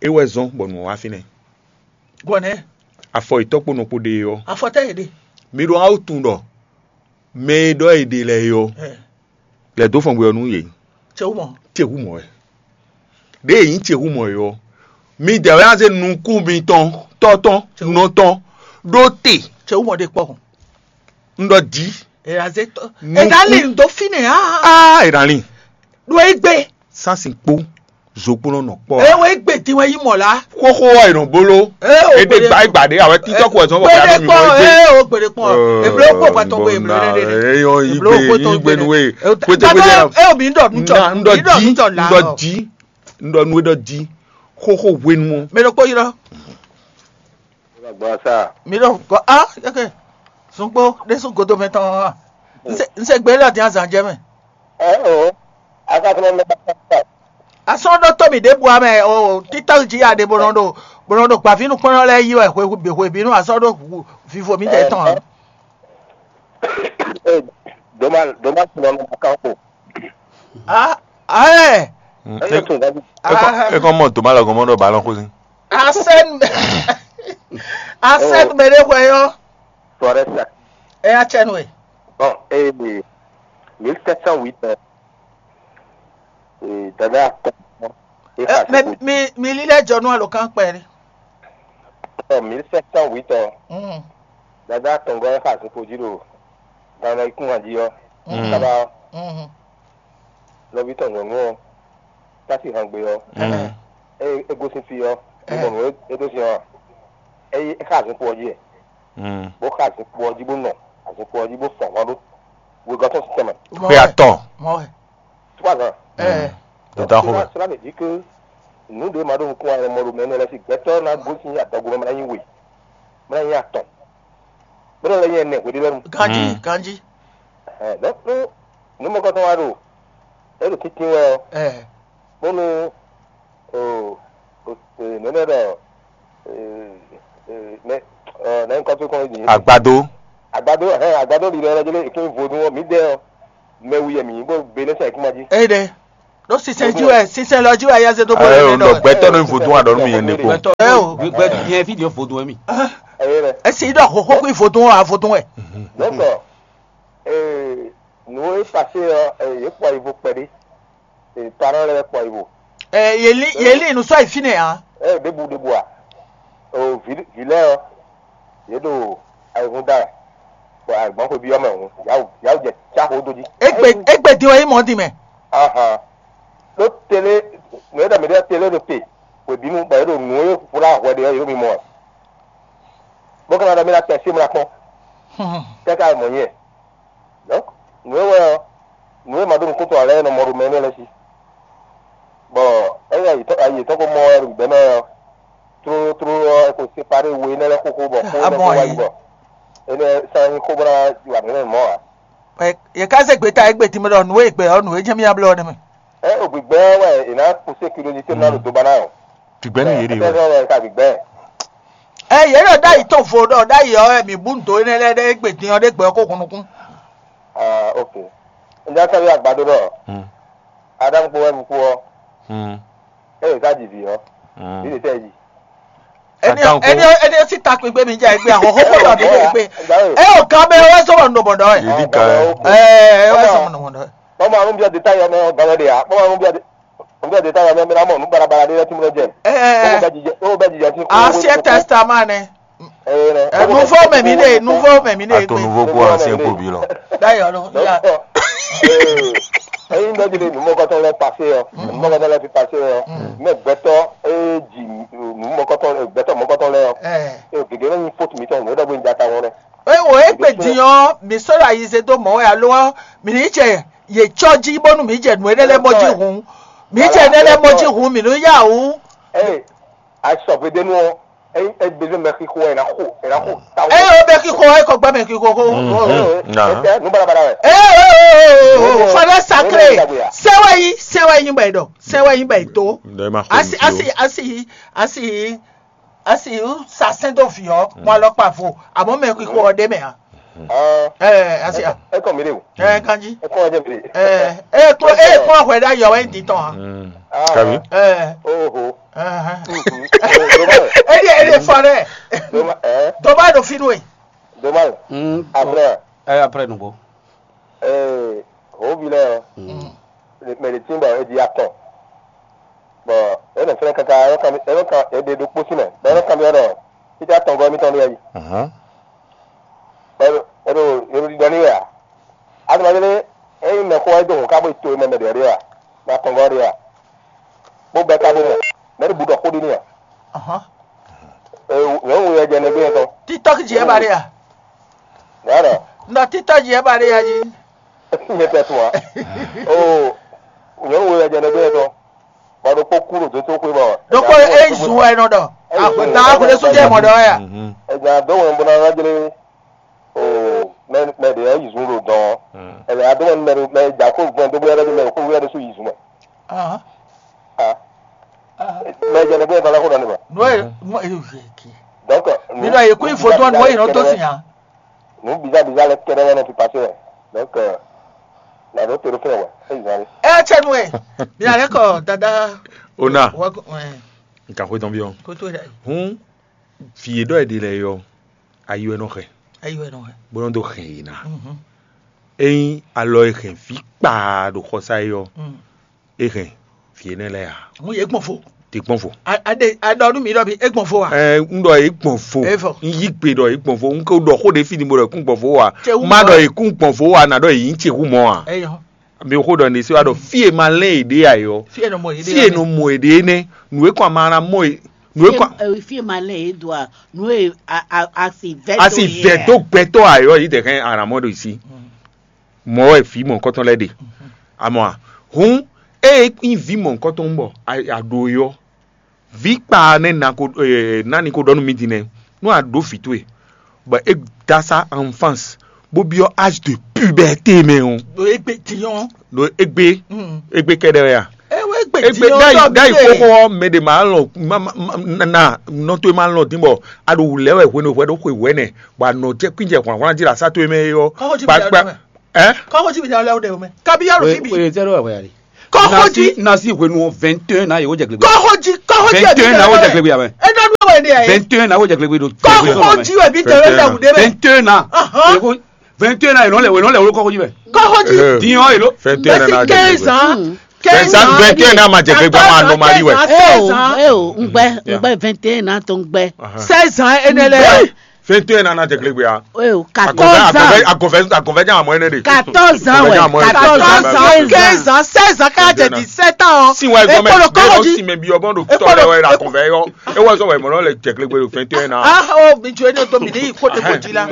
é wɛ zɔ́n bɔ nǔ ɔ́ wá fínɛ́. Gbɔnɛ́. Afɔ yětɔn kpó nɔ kpó ɖe é ɔ́. Afɔ tɛ́ yě ɖe. Mi ɖo awu tunwun ɖɔ mɛ e ɖɔ è ɖe lɛ́ɛ é ɔ́, lɛ̌ dó fɔngbe ɔ́ nú yě. Cewú mɔ. Cewú mɔ wɛ. Ɖěe nyí cewú mɔ é ɔ́, midɛɛ wɛ ná zé nukún mitɔn tɔ́ tɔn nɔ tɔn ɖó te. Cewú mɔ ɖe kpɔ́. Un ɖɔ jí. È nǎ zé tɔ́. È nǎ lin dó fínɛ́ á. Á è nǎ lin. Ɖó é gbé. Sásin kpó zokplɔ́n nɔ kpɔ́. Ewé gbèdín wɛ yí mɔ̌ lá. Xóxó ɔ́ è nɔ bló. Ée o Ede gbèdé gba é gba ɖé awɛ títọ́ kú ɛ sɔn bɔ kí á gbèdé nɔ mi kpɔn mɔ ée o gbèdé kpɔn èbló kó pàtó gbé èbló lé lé èbló kó tó gbé nú ée. Kwete kwete ée o mi ń dọ̀ nú tọ̀ ń dọ̀ jí ń dọ̀ jí ń dọ̀ nú é dọ̀ jí xóxó hwenu ɔ́. Mi ɖo kpó yi lɔ. Gbasa. Mi ɖo kɔ a yeke zungbo ɖésú godo mɛ tɔn hã. Nse nse gbe lɔ dín azan jɛ mɛ. Ɛ o. Aka fúnɛ mɛ. Asɔ ɖɔ tó mi ɖěbǔ amɛ o títɔ́ jí aɖe bó nɔ ɖo bó nɔ ɖo gbavínukpɔ́nɔ lɛ́ɛ yí wɛ hwe hwe bínú asɔ ɖo vivo mi tɛ tɔn. Doma doma tún nɔ kan ko. Ah, ah, ɛ. E kɔn mɔ doma lɔ gɔn mɔ ɖɔ ba lɔ xó sin. Asɛn asɛn mɛ ɖe hwɛ yɔ. Sɔrɛ sa. Ɛ atsɛn wɛ. Bon, eh, mille sept cent huit, eh, dada atɔn. Ɛ mɛ mi mi lílẹ̀ jɔ nú àlòkán pẹ̀lú. Ɔ mille sept cent huit ɔ. Dada atɔngɔ ɛ xa zokpo jí ɖo gan ɔ́ ikún jí ɔ́. Kaba ɔ́, nɔví tɔn nyɔ̌nu ɔ́, tá sí han gbe ɔ́, é é gosín fí ɔ́, é mɔ nǔ é dó sin ɔ́, é é xa azinkpo ɔ́ jí ɛ, bó xa azinkpo ɔ́ jí bó nɔ azinkpo ɔ́ jí bó fɔn hɔn ɖó wegɔ́ tɔn sín tɛnmɛ. Xwe atɔn. Trois ans. Ɛ Dada xo mɛ. Cela veut dire que nǔ ɖé ma ɖo nukún wa mɔ ɖo mɛ énɛ́ lɛ́ɛ sí gbɛtɔ́ ná gosín adɔgo mɛ ná nyí we, mɛ ná nyí atɔn, bó nɔ lɛ́ nyí ɛnɛ hweɖé lɛ́ɛ nu. Ganjí ganjí. Ɛhɛn, donc nú nǔmɔkɔtɔn wa ɖo é ɖo tíntín wɛ ɔ́, bónú O, o, e, nɛnɛ ɖɔ, e, e, nɛ, ɔ, nɛ nkɔ tó kɔn yi. Agbado. Agbado, hɛn, agbado ɖi ɖɔ jɛlɛ ìpín vodun ɔ, mǐdɛɛ ɔ, mɛ wi yɛ mǐ nyí bó be nɛ sɛ ìkúma jí. Eye ɖe ɖó sinsɛn jí wɛ, sinsɛn lɔ jí wɛ, ayáze dó bó Ɛ lɛ o, ɖɔ. Gbɛtɔ́ nɔ vodun aɖɔ nú mi yẹn ɖe kpo. Gbɛtɔ́ Ɛ o. Gbɛ yẹn fídíò vodun wɛ mi. Eye ɖɛ. Esi ɖɔ xoxo kú vodun ɔ, vodun wɛ. Donc, e, nǔ e passé ɔ, e, yě kpɔ yi vo kpɛɖé. E, parents lɛ́ɛ kpɔ yi vo. Ɛ, yě lí yě lí nǔ sɔ́ yi fínɛ́ ǎ. Ɛ, ɖěbǔ ɖěbǔ a? O, vǐ vǐ lɛ́ɛ ɔ́, yě ɖo ayihún da wɛ, bɔ agbǎn xwebí ɔ́ mɛ hǔn, yǎwǔ yǎwǔ jɛ cá xó dó jí. Égbè égbè din wɛ nyí mɔ̌ din mɛ. Ahan. Ɖó télé, nǔ e ɖɔ mǐ ɖɔ télé ɖo te, hwebǐnu bɔ yě ɖo nǔ e hwlá hwɛ ɖe ɔ́, yě ɖo mimɔ wɛ. Bó ka ná ɖɔ mí ná tɛ sí mla kpɔ́n. Kɛ́ká mɔ̌ nyɛ. Donc, nǔ e wɛ ɔ́, nǔ e ma ɖó nukúntɔn ǎ lɛ́ɛ nɔ mɔ ɖo mɛ énɛ́ lɛ́ɛ sí. Bɔ ényí ayi tɔn ko mɔ wɛ ɖo gbɛ̌ mɛ ɔ́, tlóló tlóló ɔ́, è ko separé we énɛ́ lɛ́ɛ xóxó bɔ xó énɛ́ ko wá yi bɔ énɛ́ sán nyí xó bó ná wa nǔ énɛ́ mɔ̌ ǎ. Yě ká zé gbeta égbé din mɛ ɖɔ nǔ e gbɛ ɔ́, nǔ e jɛ́n mì ná blɔ́ ɔ́ nɛ́ mɛ. Ɛ o gbigbɛ ɔ́ wɛ è nǎ kpósé kilomita ná ɖo dó ba ná o. Gbigbɛ nú yě ɖe wɛ. Ɛ yě ɖɔ ɖ'ayǐ tɔn vo ɖɔ ɖ'ayǐ ɔ́ wɛ mǐ bú nǔ dó énɛ́ lɛ́ɛ ɖɛ́ égbé din ɔ́ ɖé gbɛ ɔ́ kó hun nukún. Ah, ok. N já sɔ́ yí agbadó ɖɔ Aɖaŋu kpó wɛ un kú ɔ́, ée è ká ji vǐ ɔ́, vǐ ɖě tɛ́ jí? Ẹni Aɖaŋu kpó. Ẹni ẹni sí takpin gbé mi jẹ gbé ahọ́họ́ kó lọ mi lè gbé. Ẹ ò kan bẹ wẹ́ sọ̀rọ̀ nù bọ̀dọ̀ ẹ̀. Yèdí kan ẹ. Ẹ ẹ wẹ́ sọ̀rọ̀ nù bọ̀dọ̀ ẹ̀. Bọ́mọ àrùn bí ọdẹ táyọ̀ mẹ́ ọ̀gá wẹ́dẹ̀ yá. Bọ́mọ àrùn bí ọdẹ táyọ̀ mẹ́ mẹ́ra mọ̀ nù barabara dé lẹ́tí mọ́ jẹ. Ẹ ẹ Ó bẹ jijẹ ó bẹ jijẹ tí kó Ancien Testament ni. Ẹ Nouveau mẹ̀mí lè Nouveau mẹ̀mí lè Ato gbé. Nouveau kó ancien kó bí lọ. D'ailleurs, non, il y a- Ẹyin bẹ́ẹ̀ ti lè nù mọ́kọ́tọ́ lẹ pàṣẹ yọ, nù mọ́kọ́tọ́ lẹ fi pàṣẹ yọ, mẹ gbẹtọ ẹ jì nù mọ́kọ́tọ́ gbẹtọ mọ́kọ́tọ́ lẹ yọ, ẹ ẹ gègé lẹ́yìn fóòtù mi tọ́ nù ẹ dọ́gba ìjà táwọn rẹ. Ẹ wò é gbè dìyàn mi sọ̀rọ̀ àyíṣe tó mọ̀ wẹ́ àlọ́ mi ní jẹ yè tsọ́ jí bónú mi jẹ nù ẹ lẹ́lẹ́ mọ́ jí hùn mi jẹ lẹ́lẹ́ mọ́ jí hùn mi ní yà hùn. Ẹ àìsàn gbèdénú ọ, ẹ ẹ gbèdé mẹ kíkó ẹ náà kó ẹ náà kó táwọn. Ẹ yóò bẹ kíkó ẹ kò gbọ́ mẹ kíkó kó. Ẹ ẹ nù balabala rẹ. Ẹ ẹ fọdẹ sacré sẹwẹ yìí sẹwẹ yìí bẹ dọ sẹwẹ yìí bẹ tó. Asi asi asi asi asi sasɛn dó fi ọ kún alọ kpa vo àmọ́ mẹ kíkó ọ dé mẹ a. Ẹ asi a. Ẹ kàn mí lè wò. Ẹ kanji. Ẹ kàn wá jẹ mi lè. Ẹ ẹ kún ẹ kún ọ̀hún ẹ dá yọ ẹ ń di tán a. Kàbí. Ẹ Oho. Ẹhẹn. Doma. Ẹ dí ẹ dí fọ dẹ. Doma. Ẹ. Doma ɖo fínú e. Doma. Mm. Après. Ẹ après nùgbó. Ẹ. Hó vi lɛ. Mm. Mɛ ɖe tí ń bɔ é di atɔn. Bɔn é nɔ fɛnɛ kaka é nɔ kan é nɔ kan é ɖe ɖokpó sí mɛ bɔ é nɔ kan mi ɔ́ ɖɔ títí atɔngɔ́ émítɔn ɖíe yí. Ɛhɛn. Bɔ é ɖo é ɖo ɖiɖɔ n'i wɛ a? Azɔ̌mɛdélé é nyí mɛxó wɛ é dó hǔn ká bó yi to e mɛ mɛ ɖě ɔ́ ɖíe a? Mɛ atɔngɔ́ ɔ́ ɖíe a? Bó bɛ́ ka bó mɔ. Mɛ̌ ɖi bǔ ɖɔ xó ɖi n'i a? Ahán. Nyɔ̌nu we wɛ jɛ nɛgbé yɛn tɔn. TikTok jí ɛ ba ɖe a? Nǎ ɖɔ. Nɔ TikTok jí ɛ ba ɖe a jí. Nyɛ tɛ tún a? Oo, nyɔ̌nu we wɛ jɛ nɛgbé yɛn tɔn. Bɔ ɖokpó kú ɖo dótó xwé bɔ. Ɖokpó e yi zun wɛ nɔ ɖɔ. Agbɛta agbɛdɛ sún jɛ mɔ ɖɔ ya. Ɛgbɛ adó wɛn bó ná ná jlé. Oo, mɛ mɛ ɖě yi zun ɖo dɔn. Ɛgbɛ adó wɛn mɛ mɛ dza kó gbɔn dó bóyá ɖé mɛ kó wíyá ɖé sú yi zun mɛ. Ahán. Ah. Mɛ jɛ nɛgbé yɛn tɔn lɛ kó ɖɔ ne ma. Nɔ ye nɔ ye yɛ ke. Donc, Mi ɖɔ yě kú ifo tɔn nɔ ye nɔ dó sin a. Nǔ bizá bizá lɛ́ɛ kɛ́ɖɛ́ wɛ nɔ fi pasé wɛ. Donc, euh, nǎ ɖó te ɖó fínɛ́ wɛ, é zǎn ɖé. Ɛ cɛ nu ɛ. Mi alɛ kɔ dada. Ona. Wɔ ɛ. Nka xwe tɔn bi ɔ. Koto ɖe. Hun. Fi e ɖɔ e ɖi lɛ yɔ. Ayi wɛ nɔ xɛ. Ayi wɛ nɔ xɛ. Bó nɔ dó xɛ yìí ná. Mhm. Eyin alɔ e xɛ fi kpaa ɖo xɔsa yi ɔ. Mm. E hɛn vǐ énɛ́ lɛ́ɛ ǎ. Mú yě gbɔn fo. Ti gbɔn fo. A a ɖe a ɖɔ nú mi ɖɔ mi é gbɔn fo a? Ɛ ń ɖɔ yě gbɔn fo. É fɔ. Ń yí gbe ɖɔ yě gbɔn fo. Ń ko ɖɔ xó ɖé fí ni mo ɖɔ yě kún gbɔn fo a? Má ɖɔ yě kún gbɔn fo a nǎ ɖɔ yě nyí ce hu mɔ a? Eyɔ. Mi xó ɖɔ ní sí wa ɖɔ fí e ma lɛn yě ɖe a yɔ. Fí e nɔ mɔ yě ɖe. Fí e nɔ mɔ yě ɖe énɛ́. Nǔ e kɔn a ma ná mɔ yě. Nǔ e kɔn. Fí e ma lɛn yě do a? Nǔ e a a a si vɛ. A si vɛ dó gbɛtɔ́ a yɔ yě dɛ hɛn a nǎ mɔ ɖo yě sí. Mɔ̌ wɛ vǐ mɔ̌hunkɔtɔn lɛ́ɛ ɖe. Amɔ a, hǔn ée nyí vǐ mɔ̌hunkɔtɔn bɔ a ɖo é ɔ́, vǐ kpa nɛ́ na ko nani ko ɖɔ nú mì din nɛ́, nú a ɖǒ vǐ towe, bɔ é dó asá enfance, bó byɔ́ âge de puberté mɛ ɔ́, Ɖo égbé din ɔ́. Ɖo égbé, égbé kɛ́ɖɛ́ wɛ a? É wɛ Egbe ɖayi ɖayi xóxó ɔ́, mɛ ɖe ma lɔn ma ma ma na nɔ to ma lɔn dín bɔ a ɖo wǔ lɛ wɛ hwenu hwɛ ɖo xwe wɛ nɛ, bɔ a nɔ jɛ kwín jɛ hwlánhwlán jí ɖo asá towe mɛ é ɔ́. Kɔxɔji bi ɖe mɛ. Ɛ? Kɔxɔji bi ɖe mɛ. Kabi yɔrɔ fi bi. Oye tɛ ɖo wɛ ya de. Kɔxɔji. Nasi hwenu ɔ vingt et un na yewo jɛ gbegbe. Kɔxɔji kɔxɔji. Vingt et un na wo jɛ gbegbe ya mɛ. E dɔ nu wɛ de ya ye. Vingt et un na wo jɛ gbegbe do. Kɔxɔji wɛ bi tɛ wɛ lɛ wǔ de mɛ. Vingt et un na. Ahɔn. Yewo vingt et un na yelɔ lɛ yelɔ lɛ wolo kɔxɔji mɛ. Kɔxɔji. Diɲɔ yelo. Vingt et un na jɛ gbegbe. Quinze ans. Quinze ans. Vingt et un na ma jɛ gbegbe ma nɔ mali wɛ. Seize ans. Eo, ŋgbɛ, ŋgbɛ vingt et un na to ŋgbɛ. Seize ans ene lɛ. Vingt et un na na jɛ gbegbe ya. Eo, quatorze ans. Agɔvɛ agɔvɛ jama mɔ ene de. Quatorze ans wɛ. Quatorze ans, quinze ans, seize ans, ka jɛ dix-sept ans. Si wa egɔmɛ. Ekpolo kɔxɔji. Si mɛ bi ɔbɔn do tɔ lɛ wɛ la agɔvɛ yɔ. E wɔ sɔ wɛ mɔ lɛ jɛ gbegbe do vingt et un na. Ah, oh, mi jo ene to mi de yi ko te ko ji la.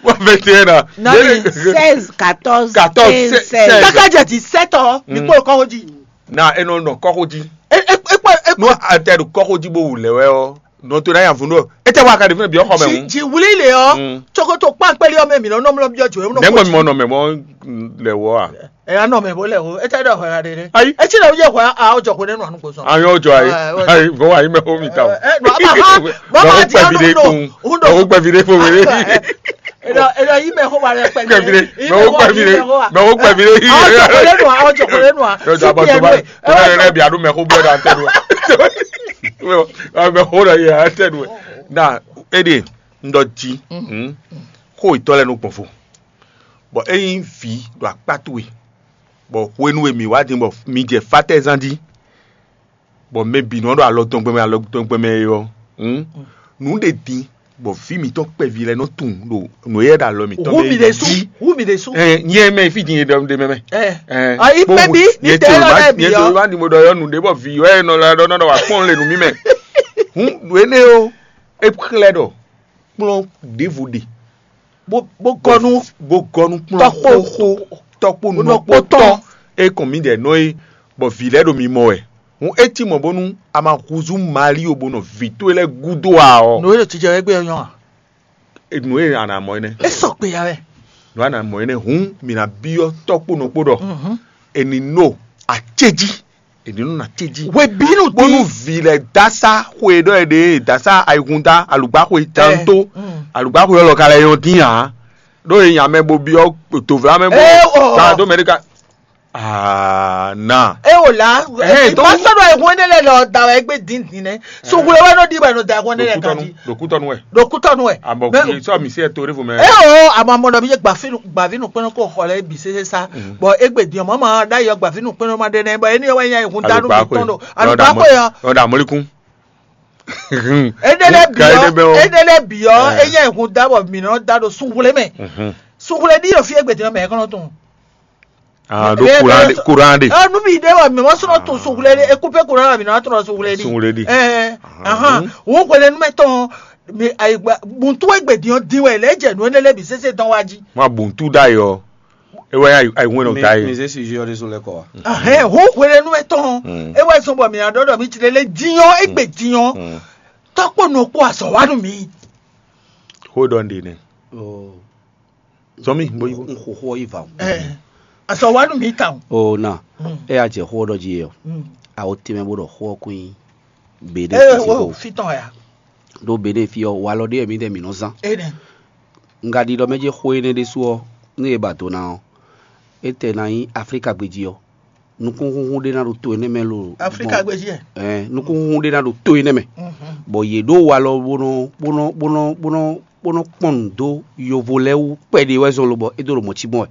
Wa vingt et un na. Nani? Seize, quatorze, quinze, seize. Kaka jɛ dix-sept ans, mi kpo kɔxɔji. Na e nɔ nɔ kɔxɔji. E e e kpo e kpo. Nú a tɛ ɖo kɔxɔji bó wù lɛ wɛ ɔ, nɔ to na ya vun ɖo. E tɛ wa ka ɖe fún bi ɔxɔ mɛ ŋu. Ji wuli le ɔ, tsokoto kpankpeli ɔ mɛ mi nɔ nɔmlɔ bi ɔ jo. Nɛgbɛ mi mɔ nɔ mɛ mɔ lɛ wɔ a. Ɛ anɔ mɛ bo lɛ o, e tɛ ɖɔ hwɛ ɖe ɖe. Ayi. E ti lɛ o yɛ hwɛ a o jɔ ko ne nɔ anu ko sɔn. Ayɔ jɔ ayi. Ayi vɔ ayi mɛ o mi ta o. Ɛ nɔ a ma ha bɔ ma di anu do. Undo. O gbɛ vi de ko wele. Ena ena yi mɛ xó wa lɛ kpɛ kpɛ fi ɖe. Mɛ wo kpɛ fi ɖe. Mɛ wo kpɛ fi ɖe. Awɔ jɔ ko lɛ nua, awɔ jɔ ko lɛ nua. Yɔ jɔ abɔ tó bá tó bá yɛ lɛ bi adu mɛ xó blɛ ɖo atɛ ɖo. Mɛ xó ɖe yɛ atɛ ɖo. Na eɖe ŋdɔ ji. Xó yitɔ lɛ nɔ gbɔn fo. Bɔ eyin vi ɖo akpá towe. Bɔ hwenu e mi wá din bɔ mi jɛ fatɛzan ji. Bɔ mɛ bǐ nɔ ɖo alɔ tɔn gbɛmɛ alɔ tɔn gbɛmɛ é ɔ́, nǔ ɖe din bɔ vǐ mǐtɔn kpɛví lɛ́ɛ nɔ tunwun ɖo nǔ e ɖo alɔ mǐtɔn mɛ jí. Hu mi ɖésú. Nyɛ mɛ fí din e ɖɔ ɖe mɛ mɛ. Ayi kpɛví ní tɛ lɔ lɛ bǐ ɔ́. Wá ní mo ɖɔ yɔ nǔ ɖé bɔ vǐ wɛ nɔ lɛ ɖɔ nɔ ɖɔ wá kpɔn le nǔ mì mɛ. Hun nǔ énɛ́ ɔ́, é xlɛ́ ɖɔ kplɔ́n ɖěvo ɖe bó bó gɔ́ nú bó gɔ́ nú kplɔ́n tɔkpó xóxó tɔkpó nɔkpó tɔn e kɔn mǐdɛɛ nɔ é, bɔ vǐ lɛ́ɛ ɖo mimɔ wɛ. Hǔn é cí mɔ̌ bónú a ma húzú Maali ó bó nɔ vǐ towe lɛ́ɛ gúdo ǎ ɔ́, nǔ e ɖo jijɛ wɛ gbé ɔ́ nyɔ́ a? Nǔ e a nǎ mɔ énɛ́. É sɔgbe ya wɛ. Nǔ a nǎ mɔ énɛ́ hǔn mǐ ná byɔ́ tɔ́kpó nɔkpó ɖɔ è nǐ no acéjí. È nǐ nɔ acéjí. Hwebǐnu bónú dín vǐ lɛ́ɛ dásá xwe ɖɔ è ɖe dásá ayihunda alǔgbáxwe tantó. Alǔgbáxwe ɔ́ lɔ ka lɛ́ nyɔ́ dín ǎ. Ɖó è nya mɛ bó byɔ́ dǒvla mɛ bó Ee, o. Ka dó mɛ ɖé ka. Aa na. E wò la Ɛhɛn, ìbá donc- sɔ̀rọ̀ ìhun ɛnɛ lɛ lọ da wɛ gbé díndín nɛ sugu lɛ wɛ nɔ di wɛ nɔ da ìhun ɛnɛ lɛ Ɖo kan Kútɔnú- di ɖo Kútɔnú wɛ. Ɖo Kútɔnú wɛ. Abɔ Mɛ- kì í sɔ mi sí ɛ torí fún mi. E o àmọ́ mɔ̀nà mi yé gbàfínù gbàfínù pé kó xɔ lɛ bì sese sa bɔn égbè dín ọmọ máa dá yọ gbàfínù pé máa dé nẹ bɔ ẹni wẹ yẹn ìhun dánú mi tɔn do Alùpàá pé yọ. Ọ̀dà mọ́líkún. Edele Ka ede bɛ biyɔ o. Edele biyɔ Eh. Eye ìhun dá bɔ mìíràn dá do sunwulé mɛ. Sunwulé ní yóò fi égbè dín mɛ kɔnɔ tún. Ah, do Eye kuran de bɛ- kuran de. Ah, nu bi de wa mi ma sɔrɔ tun sunwulé de eku pe kuran mi na tɔrɔ sunwulé di. Sunwulé di. Eh, ahan. Wo kwele nu mɛ tɔn mi ayi gba buntu egbe diɔ din wɛ le jɛ nu ne le bi sese dɔn wa ji. Ma buntu da yɔ. Ewa ya ayi ŋwe no da ye. Mizé sujet ɔ́ ɖésú lɛ́ kɔ wa. Ahɛn wo kwele nu mɛ tɔn. E wa zɔn bɔ mi na dɔ dɔ mi ti le le diɔ egbe diɔ. Tɔkpɔ nɔ kpɔ azɔ wa nu mi. Hold on de ne. Zɔmi bo yibo. N xo xo yi va o. Azɔ wa nu mi ta o. O na. E ya jɛ xo dɔ ji yɔ. Awo tɛmɛ bo dɔ xo kun yi. Be de Eh, fisi wo ko. Fitɔn ya. Ɖó Benɛ́ɛ fí ɔ́, walɔ ɖé wɛ mǐdɛɛ mǐ nɔ zán. Enɛ. Un ka ɖi ɖɔ mɛ ce xó énɛ́ ɖésú ɔ́, nú è ba do ná ɔ́, é tɛ ná nyí Aflíka gbéjí ɔ́. Nukúnxúnxún ɖé ná ɖo to énɛ́ mɛ lo. Aflíka gbéjí ɛ. Ɛɛ, nukúnxúnxún ɖé ná ɖo to énɛ́ mɛ. Bɔ yě ɖó walɔ bó nɔ bó nɔ bó nɔ bó nɔ bó nɔ kpɔn nǔ dó yovo lɛ́ɛ wú kpɛɖé wɛ zɔn lo bɔ é dó ɖo mɔ̌ cí gbɔn wɛ.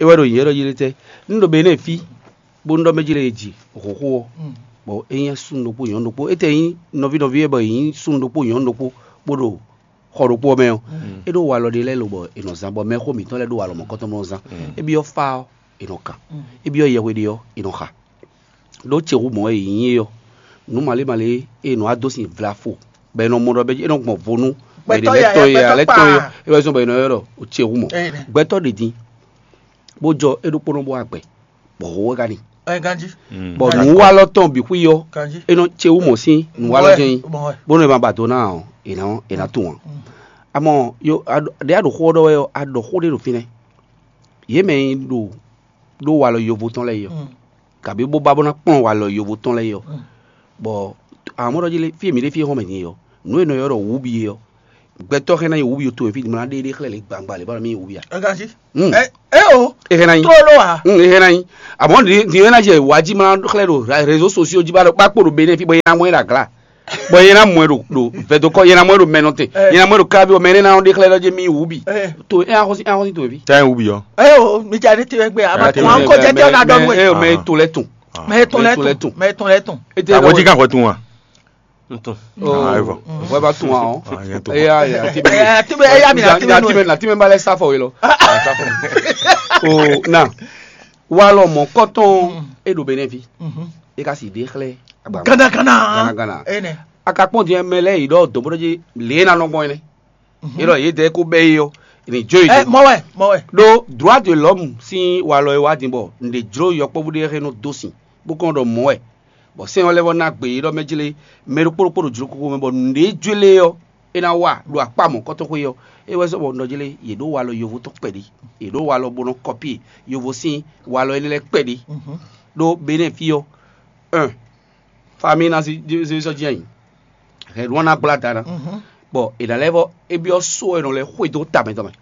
É wɛ ɖo nyǐnyɛ́ ɖɔ jí lé tɛ́? Nú ɖo Benɛ́ɛ fí, bónú ɖɔ mɛ jí lɛ́ɛ è ji hǒxo ɔ́, bɔ é nyí súnnu ɖokpó nyɔ̌nu ɖokpó, é tɛ nyí nɔví nɔví wɛ bɔ è nyí súnnu ɖokpó nyɔ̌nu ɖokpó bó ɖo xɔ ɖokpó ɔ́ mɛ ɔ́, é ɖó walɔ ɖé lɛ́ɛ lobɔ è nɔ zán bɔ mɛxó mǐtɔn lɛ́ɛ ɖó walɔ mɔ̌kɔtɔn bó nɔ zán. É byɔ́ fá ɔ́, è nɔ kan. É byɔ́ yɛhwe ɖé ɔ́, è nɔ xa. Ɖó ce hu mɔ̌ e è nyí é ɔ́, nǔ malé malé e è nɔ wá dó sin vlafo, bɔ è nɔ mɔ ɖɔ bɛ́ é nɔ gbɔn vo nú mɛ ɖě lɛ́ɛ tɔn e ǎ lɛ́ɛ tɔn e ɔ́, é wɛ zɔ́n bɔ è nɔ ylɔ́ ɖɔ ce hu mɔ̌. Gbɛtɔ́ ɖě din, bó jɔ é ɖokpónɔ bó wá gbɛ, bɔ hǒxo wɛ ka n'i. Bɔ nǔwalɔ tɔn bǐ xwí ɔ́, é nɔ ce wú mɔ̌ sín nǔwalɔ jɛ́n nyí, bónú è ma ba do ná ɔ́, è nǎ è nǎ tunwun ǎ. Amɔ ɖě a ɖo xó ɔ́ ɖɔ wɛ ɔ́, a ɖɔ xó ɖé ɖo fínɛ́. Yě mɛ e ɖo ɖó walɔ yovo tɔn lɛ́ɛ yi ɔ́, kabi bó ba bó ná kplɔ́n walɔ yovo tɔn lɛ́ɛ yi ɔ́, bɔ amɔ̌ ɖɔ jí lé, fí e mǐ ɖe fí e xɔ́n mɛ din e ɔ́, nǔ e nɔ ylɔ́ ɖɔ wǔbi é ɔ́, gbɛtɔ́ xɛ ná yi wǔbi towe fí mlá ɖéɖé xlɛ́ lě gbangba lě bá nɔ mì yi wǔbi a? Ɛ ka jí. Hmm. Ɛ ɛ o. E xɛ ná yi. Tró ló wa. Hmm, e xɛ ná yi. Amɔ̌ din din e ná jɛ wǎ jí mlá xlɛ́ ɖo ra- réseau sociaux jí bá ɖo kpákpó ɖo Benin fí bɔ yɛn ná mɔ ɛ ɖo agla. Bɔ yɛn ná mɔ ɛ ɖo ɖo vɛdokɔ yɛn ná mɔ ɛ ɖo mɛnɔ te. Ɛ. Yɛn ná mɔ ɛ ɖo kábí bɔ mɛ énɛ́ ná ɖe xlɛ́ ɖɔ jɛ mì yi wǔbi. Ɛ. To e axɔ́sí axɔ́sí towe fí. Tɛ wúbi ɔ. Ɛ o, mi ja ní tiwɛ gbé a ma Ɛ, tún wa kó jẹ jẹ ɔna dɔnu ɛ. Ɛ o mɛ to lɛ tun. Mɛ tɔn lɛ Mɛ tɔn lɛ tún, tún. Mɛ tɔn lɛ tún. E tɛ Àgbo jí kan hwɛ tún wa. Ntun. Oh, Ah, evo. Vɔ ba tún wa ɔn. Ah, yẹn tún. Eya ya ti bɛ. Ɛ ti bɛ eya mi na ti bɛ Ti bɛ na ti bɛ ba lɛ sa fɔ yi lɔ. O na. Walɔ mɔ kɔtɔn e ɖo Benin fí. E ka si ɖe xlɛ. Agba. Gana gana. Gana gana. Ene. A ka kpɔn diɛ mɛ lɛ yi ɖɔ dɔnbɔdɔ ji lě e na nɔ gbɔn yi nɛ. Yi ɖɔ yě dɛ ko bɛ yi ɔ. Ni jo yi Ɛ do. Mɔ wɛ, mɔ wɛ. Ɖó droit de l'homme sín walɔ e wá din bɔ nǔɖé jló yɔkpɔ́vú ɖé xɛ nɔ dó sin, bó kɔn ɖɔ mɔ̌ wɛ, bɔ sɛ́n ɔ́ lɛ́ vɔ́ ná gbe yě ɖɔ mɛ jlé mɛ ɖokpó ɖokpó ɖo jló kókó mɛ bɔ nǔɖé jlé ɔ́ é ná wa ɖo akpá mɔ̌kɔtɔn xwé ɔ́. É wɛ zɔ́ bɔ un ɖɔ jlé yě ɖó walɔ yovo tɔn kpɛɖé, yě ɖó walɔ bó nɔ́ kɔpíe yovo sín walɔ énɛ́ lɛ́ɛ kpɛɖé. Ɖó Benɛ́ɛ fí ɔ́, un, famille ná zí zí sɔ́ jí ayǐ, hɛ̌nnu ɔ́ ná gblá da ná, bɔ è nǎ lɛ́ vɔ é byɔ́ só e nɔ lɛ́ xwedó tamɛ tɔn mɛ.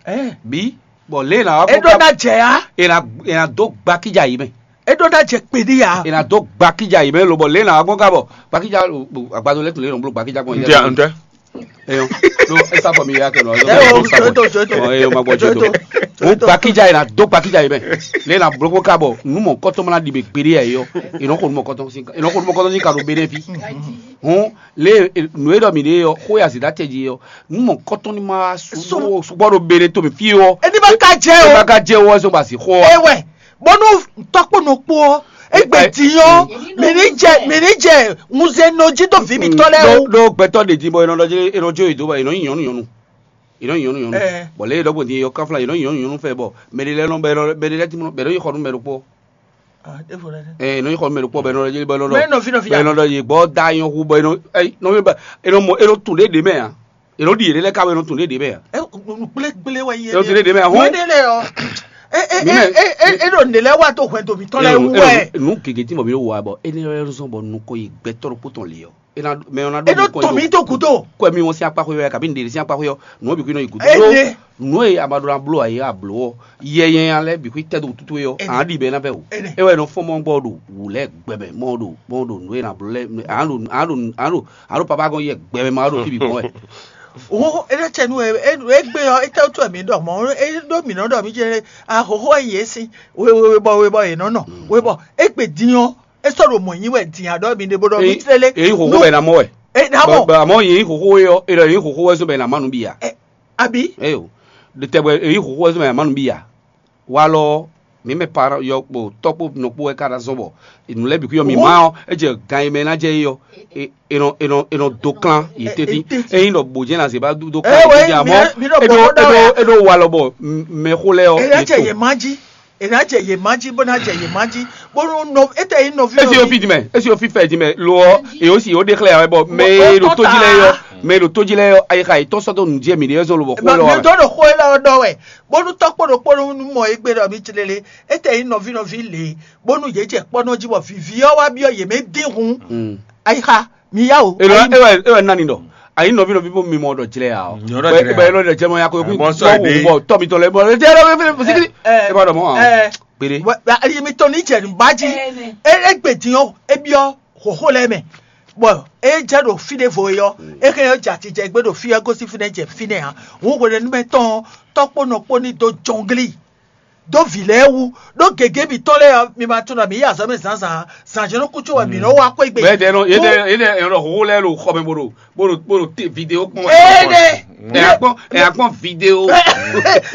Bǐ bɔ lě e è nǎ wá É ɖó ná jɛ á. È nǎ è nǎ dó gbakíjà yě mɛ. É ɖó ná jɛ kpeɖí ǎ. È nǎ dó gbakíjà yě mɛ lobɔ lě e è nǎ wá gbɔn ká bɔ gbakíjà agbado lɛ́ tun lě e nɔ bló gbakíjà gbɔn. Ntɛ ntɛ. Eyɔn, ɖó é sá fɔ mi ya kɛ nɔ. Ɛ o, joto, joto. Eyɔn ma gbɔ joto. Joto. Wo gbakíjà yě ná dó gbakíjà yě mɛ. Lě e è nǎ bló gbɔn ká bɔ nú mɔ kɔtɔn ma ná ɖi mɛ gbeɖé yɛ yɔ. È nɔ xo nú mɔ kɔtɔn sín ká ɖo béɖé fí. Hɔn lě e nǔ e ɖɔ mǐ ɖe ɔ́, xó e azǐ ɖó acɛ jí ɔ́, nú mɔ kɔtɔn ní ma wá Sún. Sukpɔ́ ɖo béɖé tó mì fí ɔ́. Ení ma ka jẹ́ o. Ení ma ka jẹ́ o, ɛ zɔn ba sí xɔ. Ewɛ, bɔnú tɔkpɔnɔ kpó ɔ, egbe Ɛ, ti yɔ, mí ní jẹ mí ní jẹ ŋuzɛ nɔ jí tó fi mi tɔ lɛ Ɖó o. Ɖó gbɛtɔ́ ɖe din bɔ è nɔ ɖɔ jlé è nɔ jó yě dó bɔ è nɔ nyí nyɔ̌nu nyɔ̌nu. È nɔ nyí nyɔ̌nu nyɔ̌nu. Ɛ. Bɔ lě e ɖɔgbɔn din yɔ káfla è nɔ nyí nyɔ̌nu nyɔ̌nu fɛ bɔ mɛ ɖé lɛ́ɛ nɔ bɛ nɔ bɛ ɖé lɛ́ɛ ti mɔ bɛ ɖó yi xɔ nú mɛ ɖokpó. Ah, é fo ɖe. Ɛ è nɔ yi xɔ nú mɛ ɖokpó bɛ nɔ ɖɔ jlé bɛ nɔ ɖɔ. Mɛ nɔ fi nɔ fi Bɛ ya. Nɔ ɖɔ yě gbɔ da nyɔ hu bɔ è nɔ ɛ nɔ mi ba è nɔ mɔ è nɔ tun ɖé ɖé mɛ a. È nɔ ɖi yě ɖé lɛ́ɛ ká bɔ è nɔ tun ɖé ɖé mɛ a. Ɛ nu gblégblé wɛ yé. È nɔ tun ɖé ɖé mɛ a hɔn. Wɛ ɖé lɛ ɔ. E e Mi e mɛ- e e e ɖo ne lɛ wa to hwɛndo mi tɔ lɛ wu wɛ. Nu gègé tí mo mi wò wa bɔ é ní lɛ zɔn bɔ nukɔ yi gbɛtɔ ɖokpó tɔn lé ɔ. É ná mɛ ɔ́ ná E ɖo to mi to gudo. Kɔ mi wọn sín akpa xwé wɛ kabi ŋɖe sín akpa xwé ɔ nù ɔ́ bǐ kú nɔ yi gǔdo. Ene. Nǔ e a ma ɖó ná bló ǎ é a blǒ ɔ́, yɛ nyanya lɛ́ɛ bǐ xwí tɛ́ dó wútu towe ɔ́, Ene. Ǎ ɖi bɛ ná vɛ wǔ. Ene. É wɛ nɔ fɔ́n mɔ gbɔ ɖo wǔ lɛ́ɛ gbɛ mɛ, mɔ ɖo mɔ ɖo nǔ e ná bló lɛ́ɛ, ǎ ɖo ǎ ɖo ǎ ɖo ǎ ɖo papa gɔn yɛ gbɛ mɛ ma ɖo fí bǐ gbɔn wɛ. Wo e ɖe cɛ nu e e gbe ɔ e tɛ tu mi ɖɔ mɔ e ɖo mi nɔ ɖɔ mi jɛ ahoho e yě si we we we bɔ we bɔ yě nɔ nɔ we bɔ e gbe din ɔ e sɔ ɖo mɔ nyi wɛ din aɖɔ mi ɖe bo ɖɔ mi tlele. Èyí xòxó bɛ ná mɔ wɛ. E ná mɔ. Bɛ àmọ́ yìí xòxó yɔ e ɖɔ yìí xòxó wɛ zɔn bɛ ná má nú bia. Abi. Eyo, ɖe tɛgbɛ èyí xòxó wɛ zɔn bɛ ná má nú bia. Walɔ mi mɛ pa yɔ kpo tɔkpo nɔkpo wɛ ka ɖa zɔn bɔ nù lɛ bǐ kú yɔ mi ma ɔ e jɛ gan yi mɛ ná jɛ yi ɔ e nɔ e nɔ e nɔ do kan yi teti eyin dɔ bo jɛ na se ba do kan yi teti amɔ e ɖo e ɖo e ɖo walɔ bɔ mɛ xo lɛ ɔ. Ena jɛ yɛ ma ji ena jɛ yɛ ma ji bó na jɛ yɛ ma ji bó nɔ etɛ yi nɔvi esi ofi dimɛ esi ofi fɛ dimɛ lo ɔ e o si o de xlɛ yà bɔ mɛ e ɖo tó ji lɛ yɔ mɛ e ɖo tó ji lɛ yɔ ayi xa yi tɔn sɔtɔ nu diɛ mi de yɔ zɔn lo bɔ xo lɛ wa mɛ. Dɔ ɖo xo lɛ ɔ dɔ wɛ bónú tɔkpó ɖokpó nú mɔ égbé ɖɔ mí jlélé, étɛ́ nyí nɔví nɔví lě, bónú yě jɛ kpɔ́ nɔ jí bɔ vǐví ɔ́ wá byɔ́ yě mɛ dín hǔn. Ayixa, mi yá o. Ewɛ ewɛ nani dɔ ayi nɔvi nɔvi bó mi mɔ dɔ jlɛ ya o. Nyɔrɔ jlɛ ya. Bɛ yɔrɔ jlɛ mɔ ya ko ko mɔ sɔ ede bɔ tɔ mi tɔ lɛ bɔ ede yɔrɔ fɛ sikiri. E ba dɔ mɔ a. Gbede. Ayi mi tɔ ni jɛ nu ba ji. E gbe din o, e byɔ xoxo lɛ mɛ. Bɔ e jɛ ɖo fi ɖe vo yɔ, e hɛn yɔ jɛ ati jɛ gbe ɖo fi yɔ gosi fi nɛ jɛ fi nɛ a. Wo hwe ɖe nu mɛ tɔn tɔkpo nɔ kpo ni do jɔngli. Ɖó vǐ lɛ́ɛ wú, ɖó gěgé mitɔn lɛ́ɛ ɔ́, mi ma tunwun ɖɔ mǐ yi azɔ̌ mɛ zǎnzǎn ǎ; zǎnzǎnnukúnco wɛ mǐ nɔ wá xwé gbe. Bɔ édɛɛ nɔ édɛɛ édɛɛ ɛnɔ xóxó lɛ́ɛ ɖo xɔ mɛ bó ɖo bó ɖo bó ɖo te video kpɔn wɛ. Éɖe. Ɛ akpɔn ɛ akpɔn video.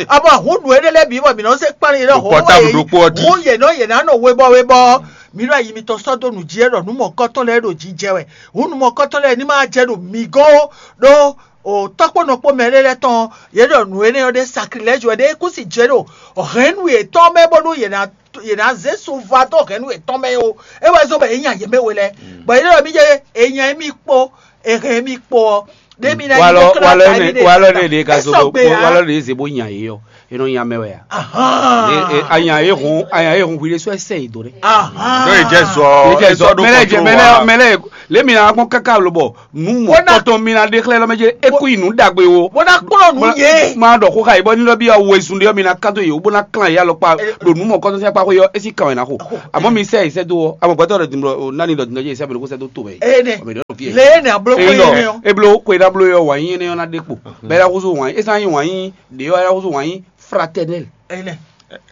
Abɔ hun nǔ éɖé lɛ́ɛ bǐ bɔ mǐ nɔ zé kpán yě ɖɔ Ɖo xóxó pɔtáblu wɛ ɖokpó ɔ́ jí. Hun yě nɔ yě ná nɔ webɔ webɔ. Mǐ ɖo ayi mitɔn sɔ́ dó nǔ jí é ɖɔ nǔ mɔ̌kɔtɔn lɛ́ɛ ɖo jijɛ wɛ. Hun nǔ mɔ̌kɔtɔn lɛ́ɛ ní ma jɛ ɖo mǐ gɔ́n ó ɖó O tɔ́kpɔ́nɔkpɔ́ mɛ ɖé lɛ́ɛ tɔn yě ɖɔ nǔ énɛ́ ɔ́ ɖé sakrilɛ́jɔ wɛ ɖé kú si jɛ ɖo hɛ̌nnu yětɔn mɛ bónú yě ná yě ná zé sunvadó hɛ̌nnu yětɔn mɛ ó. É wɛ zɔ́n bɔ yě nya yě mɛ we lɛ́ɛ, bɔ yě ɖɔ mí jɛ è nya émí kpó è hɛn émí kpó ɔ́, ɖé mí ná nyí Walɔ bó kɛ́ ná walɔ da énɛ́ émí ɖe walɔ énɛ́ ɖe ka zo bó walɔ ɖe ze bó nya yě ɔ́. É nɔ nyi amɛ wɛ a? Anya e hun anya e hun hwi ɖésú ɛ sɛ yi do ɖé. Ɖó e jɛ zɔ Mɛlɛ jɛ mɛlɛ mɛlɛ lé mi na kpɔn káká lo bɔ nu mɔ kɔtɔn mi na ɖe xlɛ lɔ mɛ jɛ eku yi nu dagbe wo. Bó ná kplɔ́n nú yě. Ma ɖɔ xó xa yi bɔ ní lɔ bi awo ezun ɖe mi na kán to yě wo bó ná klán yá lɔ kpa ɖo nu mɔ kɔtɔn sɛn kpa xó yɔ esi kan wɛ na xo. Àmọ́ mi sɛ yi sɛ do wɔ amɔ gbɛtɔ ɖɔ dimlɔ nani ɖɔ dimlɔ jɛ yi sɛ bɛ ko sɛ do to wɛ. Ene Ɔmɛ ɖɔ fi yɛ. Lé ne ablo ko Eyi yé ne nɔ eblo ko yi ɖablo yɔ wǎn nyi énɛ́ ɔ́ ná ɖe kpo. Bɛ ɖa xúzú wǎn nyi é sán nyi wǎn nyi ɖě ɔ́ ɖa xúzú wǎn nyi fraternel. Ene.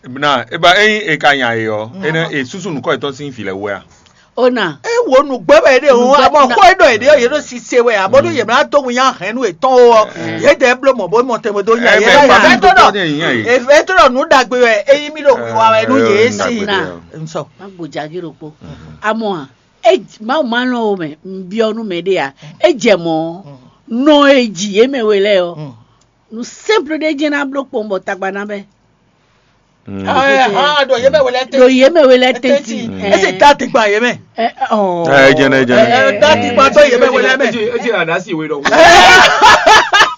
Na eba eyin e ka nya e ɔ ene e susu nukɔ etɔn sin fi lɛ wɛ a. Ona. E wo nugbɛ wɛ ɖe o Nugbɛ- amɔ na- xɔ e ɖɔ e ɖe o yɛ ɖo sise wɛ a bɔ ɖo yɛ mla do ŋun ya hɛn nu etɔn o ɔ yɛ dɛ blo mɔ bo mɔ tɛmɛ do nya yɛ Ebe la ba yɛ mi to to dɔ de yin ayi. Efe to dɔ nu dagbe wɛ eyi mi ɖo wiwa wɛ nu yɛ si. Na. Nsɔ. Má gbɔjà gé ɖokpó. Amɔ a, e Mawu ma lɔn o mɛ, n biɔ nú mɛ ɖé a, e jɛ mɔ nɔ e ji yé mɛ we lɛ ɔ. Nu simple ɖé jɛ na bló kpɔn bɔ tagba na bɛ. Aa ɖo yɛ bɛ wele Ɖo tɛ. yé mɛ we lɛ Tɛnti. tɛnti. Ese ta ti gba yɛ mɛ. Ɛ jɛnɛ jɛnɛ. Ɛ ta ti gba tɔ yɛ bɛ wele mɛ. Eti adasi we dɔ.